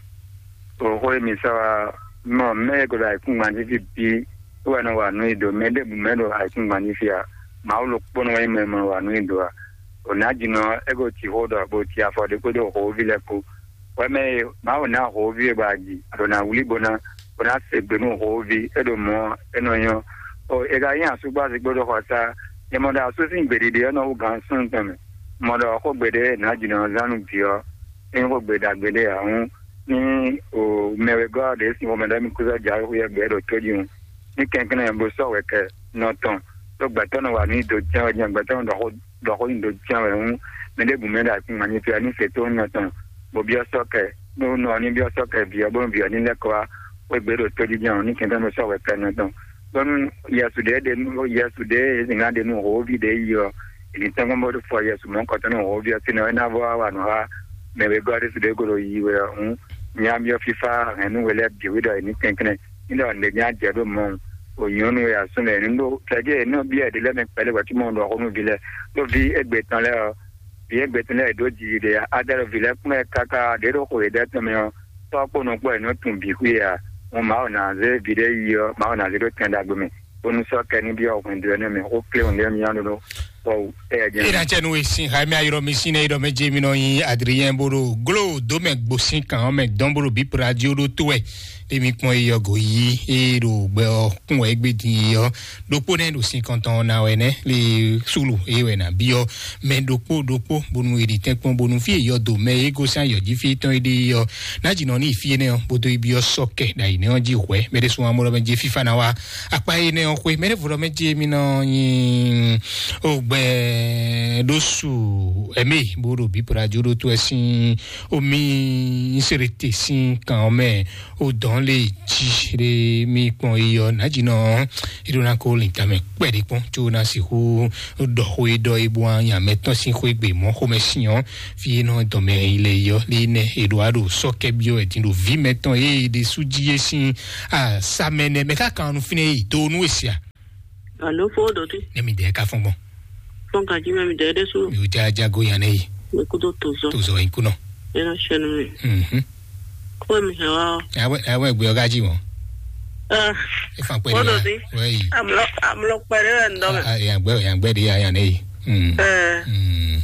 O xó ye mi sɔ wa mɔ mɛ e ko da ikun gbanji fi bi. Wɛ nɔ wa nu ido mɛ de bu mɛ do ikun gbanji fi a. Ma wo lo kpɔnɔ wɛ mɛ mɔ wa nu ido a. O na jinɔ e ko ti xó dɔ bo ti afɔ de ko do xó vi lɛ ko. Wɛ mɛ e ma wo na xó vi e ba ji. A do na wuli bo na, bo na se gbe nu xó vi e do mɔ e nɔ nyɔ. O e ka yin asugba zigbo do xɔ sa. Nyɛ mɔ da asu sin gbeɖiɖi e nɔ wu gan sun tɔn mɛ. Mɔ ɖɔ xó gbe ɖe na jinɔ zan nu bi ɔ. Yin xó gbe ɖagbe ɖe a hɔn. Ní o mɛ wegɔ́ ɖě sin xomɛ ɖɔ émí kúsɔ jǎwe xú yɛ gbɛ ɖo tójí ŋu. Ní kɛnklɛ́n bó sɔ́ wɛ kɛ nɔ tɔn, ɖó gbɛtɔ́ nɔ wa nǔ nyi do jɛ́n wɛ jɛ́n, gbɛtɔ́ nɔ ɖɔ xó ɖɔ xó nyi do jɛ́n wɛ hú, mɛ ɖěbǔ mɛ ɖo ayǐkúngban ní fia ní se tó nɔ tɔn, bó byɔ́ sɔ́ kɛ, nú nɔ ní byɔ́ sɔ́ kɛ vǐ ɔ́, bónú vǐ ɔ́ ní lɛ́ kɔ wá xwé gbě ɖo tójí jɛ́n ɔ́, ní kɛnklɛ́n bó sɔ́ wɛ kɛ nɔ tɔn. Bónú Yɛsu ɖě ɖe nú Yɛsu ɖě e zǐngán ɖe nú hǒví ɖě yi ɔ́, è nǐ tɔ́n gbɔn bó fɔ Yɛsu mɔ̌hunkɔtɔn nú hǒví ɔ́ tínɔ é ná vɔ wá wa nǔ xá mɛ wegɔ́ ɖésú ɖě ko ɖo yiyi wɛ ɔ́ hǔn, nya byɔ́ fífá hɛ̌nnu we lɛ́ɛ bǐ wú ɖɔ è nǐ kɛnklɛ́n ní ɖɔ nǔɖé nya jɛ ɖó mɔ̌ o nyɔ̌nu e asú lɛ́ɛ nǔ ɖó kɛjɛ è nɔ byɔ́ è ɖe lɛ́ mɛ kpɛɖé hwɛ̌ cóbɔ un ɖɔ xó nú vǐ lɛ́ɛ ɖó vǐ égbé tɔn lɛ́ɛ ɔ́, vǐ égbé tɔn lɛ́ɛ è ɖǒ jiji ɖe ǎ, adɛ́ ɖo vǐ lɛ́ɛ kplɔ́n ɛ káká ɖě ɖo xwe yěɖɛ́ tɔn mɛ ɔ́, tɔ́ kpó nɔ kpó è nɔ tunwun bǐ xwí ǎ. Hǔn Mawu ná zé vǐ ɖé yi ɔ́, Mawu ná zé ɖó tɛn ɖagbe mɛ, bónú sɔ́ kɛ ní byɔ́ hwɛndo ɛnɛ mɛ xó kléwún lé mía ɖó ɖó kpɔ́wú. Éyɛ́ jɛ́n. Ena cɛ nu e sin xayi mi ayɔrɔ mi sin ne yɔrɔ mɛ je mi nɔ yin Adrien bo ɖo glo do mɛ gbo sin kan mɛ dɔn bo ɖo bip radio ɖo to wɛ. Ɖe mi kpɔn yi yɔ go yi e ɖo gbɛ ɔ kún wɛ egbe din yi yɔ ɖokpo nɛ ɖo sin kɔntɔn na wɛ nɛ le sulu e wɛ na bi yɔ mɛ ɖokpo ɖokpo bonu e ɖi tɛn kpɔn bonu fi e yɔ do mɛ e gosin ayɔ ji fi tɔn e ɖi yɔ na dzi nɔ ni fi enɛ ɔ bodo ibi ɔ sɔ kɛ ɖa yi nɛ ɔ ji hwɛ mɛ ɖe sun amɔ lɔ mɛ je fifa na wa akpa yi nɛ ɔ xwe mɛ ɖe vo lɔ mɛ je mi nɔ yin o Wɛ ɖó su ɛmɛ bó ɖo bí pradzo ɖó tó ɛ sín omi nsirete sín kan ɔmɛ o dɔn le jí ɖe mi kpɔn eyɔ nàjínɔ. Eɖo na ko lin tamɛ kpɛɖe kpɔn tso na sixú ɖɔ xó e ɖɔ e bó anya mɛtɔn sín xó e gbe mɔ xomɛ sín ɔ fi e nɔ dɔmɛ yi le yɔ li nɛ eɖo aɖo sɔkɛ biɔ ɛdin ɖo vi mɛtɔn e ɖe sú jí e sín asamɛ nɛ mɛ ká kan nu fínɛ yi do nu esia. Alo, fo ɖo te. Ne mi dɛ ka fɔn gbɔn. Fɔn ka jí mɛ mi dɛ ɖe so. Mi o ja jago yan ne yi. Mi kudo to zɔ. To zɔ in kunɔ. Ena sɛnu mi. Mhm. Ko mi hɛ wa. Awe awe gbe oga ji mo. Ah. E fan pere. Fo ɖo te. Wei. Amlo amlo pere ndɔ. Ah, ya gbe ya gbe de ya yan ne yi. Mm. Eh. Mm.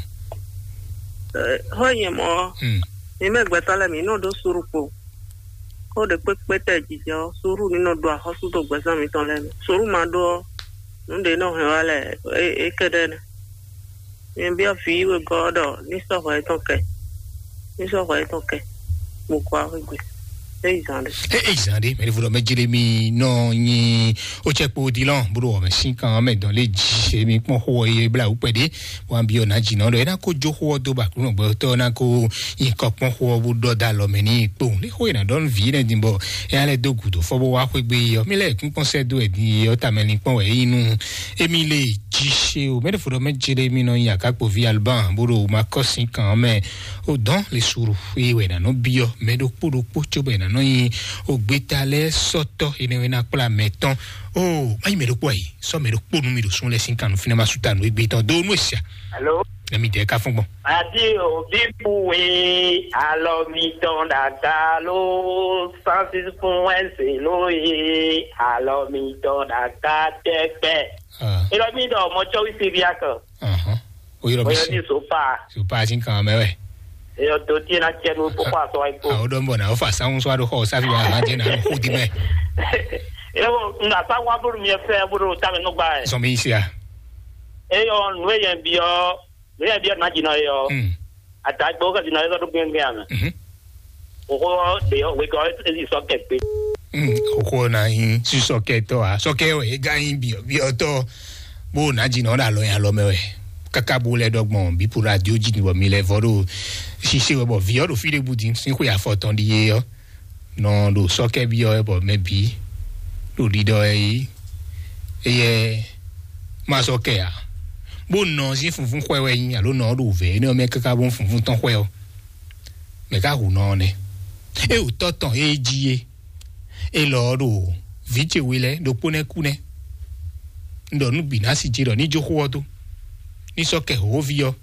Eh, ho ye mo. Mm. Mi mɛ gbɛtɔ lɛ mi no do suru kpo. Ko ɖe kpékpé tɛ jijɔ suru ní nɔ ɖo axɔ́sú dó gbɛzán mitɔn lɛ́ɛ mɛ. Suru ma ɖó ɔ́, nǔ ɖé nɔ hɛn wá lɛ é é kɛ ɖɛ́ nɛ. Nyɛ biɔ vǐ wegɔ́ ɔ́ ɖɔ ní sɔ́ hwɛ yětɔn kɛ, ní sɔ́ hwɛ yětɔn kɛ, bó kɔ axwé gbe. É yi zan ɖé. É é zan ɖé mɛ ɖěvo ɖɔ mɛ Jeremi nɔ nyi ó tsɛ kpo dilɔn bó ɖo wɔmɛ sín kan mɛ dɔn lé jí èmi kpɔn xó ɔ́ yé bla wú kpɛɖé. Wan biɔ ná jì nɔ ɖɔ é ná kó jó xó ɔ́ dó ba kúnɔ gbɛtɔ́ ná kó nyi kɔ kpɔn xó ɔ́ bó ɖɔ dó alɔ mɛ ní kpowun lé xó e ná ɖɔ nú vǐ nɛ din bɔ é ná lɛ́ dó gǔdo fɔ bó wá xwé gbé yi ɔ́ mí lɛ́ kún kpɔn sɛ́ dó wɛ din yi ɔ́ tamɛ ní kpɔn wɛ é nyí nú émi lé jí. Ṣe o mɛ ɖé fo ɖɔ mɛ jere mi nɔ nyi akákpoví alban bó ɖo ma kɔ́ sín kan mɛ o dɔn le suru. Eye wɛ nánɔ biɔ mɛ ɖokpó ɖokpó cóbɔ è nánɔ nyi o gbéta lɛ́ɛ sɔtɔ enɛ wɛ ná kplá mɛ tɔn. O má yi mɛ ɖokpó ayi sɔ mɛ ɖokpó nú mi ɖo sún lɛ sín kan nú fínɛ ma sú ta nú égbé tɔn dó nú èsì. Alo. Nɛ mi dɛ ka fún gbɔn. Adi obi puwe alɔ mi tɔn dada lo sansis fún ẹsẹ lo ye alɔ mi tɔn dada tẹpẹ. Elɔ mi dɔ mɔ tsɔwi siriya kan. Ahɔn. O yɔrɔ mi Oyɔ si. Ni sopa. Sopa si kan mɛ wɛ. Eyɔ to tie na tiɛ nu kpɔkpɔ asɔ wa ikpo. Awo dɔn bɔ na o fa sanwó sɔ ado xɔ o safi wa hàn jẹ na o xo di mɛ. Eyɔ nga sanwó abolo mi fɛ bolo tamɛ nugba yɛ. Sɔmi sia. Eyɔ nue yɛn biɔ nue yɛn biɔ na jina eyɔ. Hmm. Adagbe o ka jina eyɔ do gbɛngbɛn amɛ. Mhm. Oxo ɖe wegɔ ezi sɔ kɛ gbe. Hmm. Oxo na yin si sɔ kɛ tɔ a sɔ kɛ wɛ ega yin biɔ biɔ tɔ. Bó na jina o da lɔ yin alɔ mɛ wɛ. Kaka bó lɛ dɔgbɔn bí po radio ji ni bɔ mi lɛ vɔ ɖo. Sise wɛ bɔ viɔ ɖo fi ɖe bu di sin xwe afɔtɔn ɖi ye yɔ. Nɔ ɖo sɔkɛ biɔ wɛ bɔ mɛ bí ɖo ɖiɖɔ wɛ yi. Eyɛ ma sɔkɛ a. Bó nɔ sin funfun xwɛ wɛ yin alo nɔ ɖo vɛ ne mɛ kaka bó funfun tɔn xwɛ ɔ. Mɛ ka hu nɔ ɔ́ nɛ́. É wǔ tɔ́ tɔn é jí é. É lɔ ɔ́ ɖo vǐ ce we lɛ́ɛ ɖokpó nɛ́ kú nɛ́. Un ɖɔ nú bǐ ná sí ce ɖɔ ní jó xó ɔ́ dó. Ní sɔ́ kɛ hǒví ɔ́,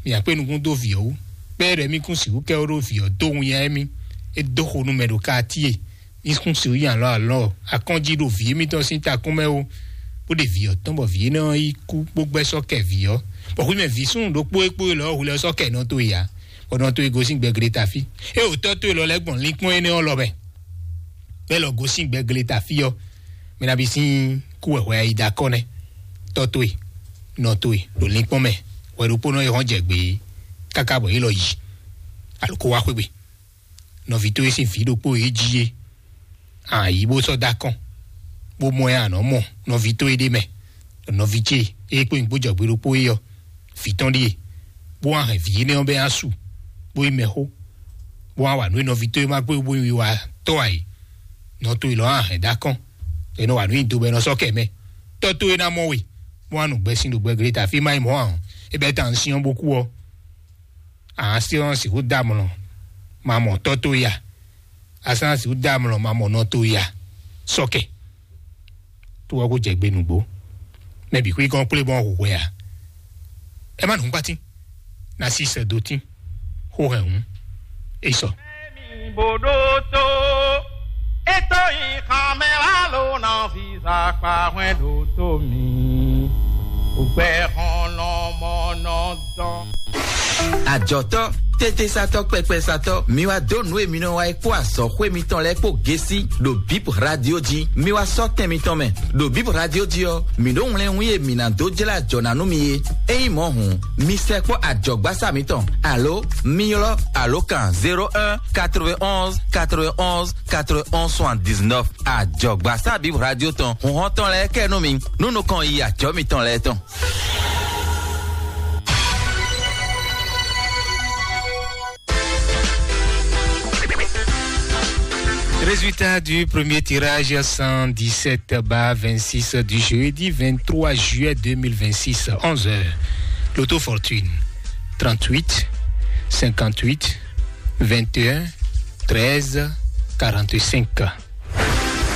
mì akpé nukún dó vǐ ɔ́ wú. Bɛ́ ɖɔ émí kún sixú kɛ ó ɖó vǐ ɔ́ dó winnyá émí. É dó xo nú mɛ ɖo káatíe. Ní kún sixú nyi alɔ alɔ akɔ́njí ɖo vǐ émítɔn sín takún mɛ ó. Bó ɖe vǐ ɔ́ tɔn bɔ vǐ énɛ́ ɔ́ yi kú bó gbɛ́ sɔ́ kɛ vǐ ɔ́. Bɔ xwí mɛ vǐ súnnu ɖokpó é kpó é lɔ ɔ́ hu lɛ sɔ́ kɛ nɔ tó ya. Bɔ nɔ tó e gosín gbɛgleta fí. É wǒ tɔ́ tó e lɔ lɛ́ gbɔn linkpɔ́n énɛ́ ɔ́ lɔ mɛ. Bɛ́ lɔ gosín gbɛgleta fí ɔ́, mɛ ná bí sín kú wɛ hwɛ ayi da kɔ́ nɛ́. Tɔ́ tó e, nɔ tó e, ɖo linkpɔ́n mɛ, hwɛ ɖokpónɔ e hɔn jɛ gbě káká bɔ é lɔ yi. Alo kó wá xwé gbe. Nɔví tó e sín vǐ ɖokpó e jí é. Ayi bó sɔ́ dó akɔn, bó mɔ ɛ anɔ mɔ nɔví tó e ɖé mɛ, nɔví ce e kpó nyǐkpó jɔgbe ɖokpó é ɔ́, vǐ tɔn ɖíe, bó wá hɛn vǐ énɛ́ ɔ́ bɛ́ asú, bó yi mɛxó, bó wá wa nǔ e nɔví tó e ma kpé bó yi wa tɔ́ ǎ é. Nɔ tó e lɔ wá hɛn dó akɔn, è nɔ wa nǔ nyi do bɔ è nɔ sɔ́ kɛ mɛ. Tɔ́ tó e ná mɔ we, bó wá nu gbɛsin ɖo gbɛgleta fí má yi mɔ̌ ǎ, é bɛ́ tan syɔ́n bó kú ɔ́. Assurance sixú dá amlɔ, ma mɔ tɔ́ tó ya. Assurance sixú dá amlɔ, ma mɔ nɔ tó ya. Sɔkɛ. Tó wá kó jɛ gbé nǔgbó. Mɛ bǐ xwí gɔ́n kplé bɔn hu hwɛ a? Ɛ má nǔ kpátín. Na sí sɛ dó tín. Xó hɛn hǔn. É sɔ. Bòdó tó. Ètò ìkànnì lálọ́ náà fi sàpà wẹ́n dò tó mi. Ògbẹ́ hàn lọ́mọ náà dán. Ajɔtɔ, tetesatɔ, kpɛkpɛsatɔ, mi wá dó nǔ e mi nɔ wa yi kpó azɔxwé mitɔn lɛ́ɛ kpó gesi ɖo Bip Radio jí. Mi wá sɔ́ tɛn mitɔn mɛ. Ɖo Bip Radio jí ɔ́, mi ɖó wlɛ́nwí e mi ná dó jlá ajɔ ná nú mi é. Ényí mɔ̌ hǔn, mi sɛkpɔ́ ajɔ̌gbásá mitɔn, alo mi ylɔ́ alǒkan zéro un quatre-vingt-onze quatre-vingt-onze quatre-vingt-onze soixante-dix-neuf. Ajɔ̌gbásá Bip Radio tɔn, hǔnhɔ́n tɔn lɛ́ɛ kɛ nú mi, nú nukɔn yi ajɔ̌ mitɔn lɛ́ɛ tɔn. Résultat du premier tirage, cent dix-sept bas vingt-six, du jeudi vingt-trois juillet deux mille vingt-six, onze heures. Loto Fortune, trente-huit, cinquante-huit, vingt et un, treize, quarante-cinq.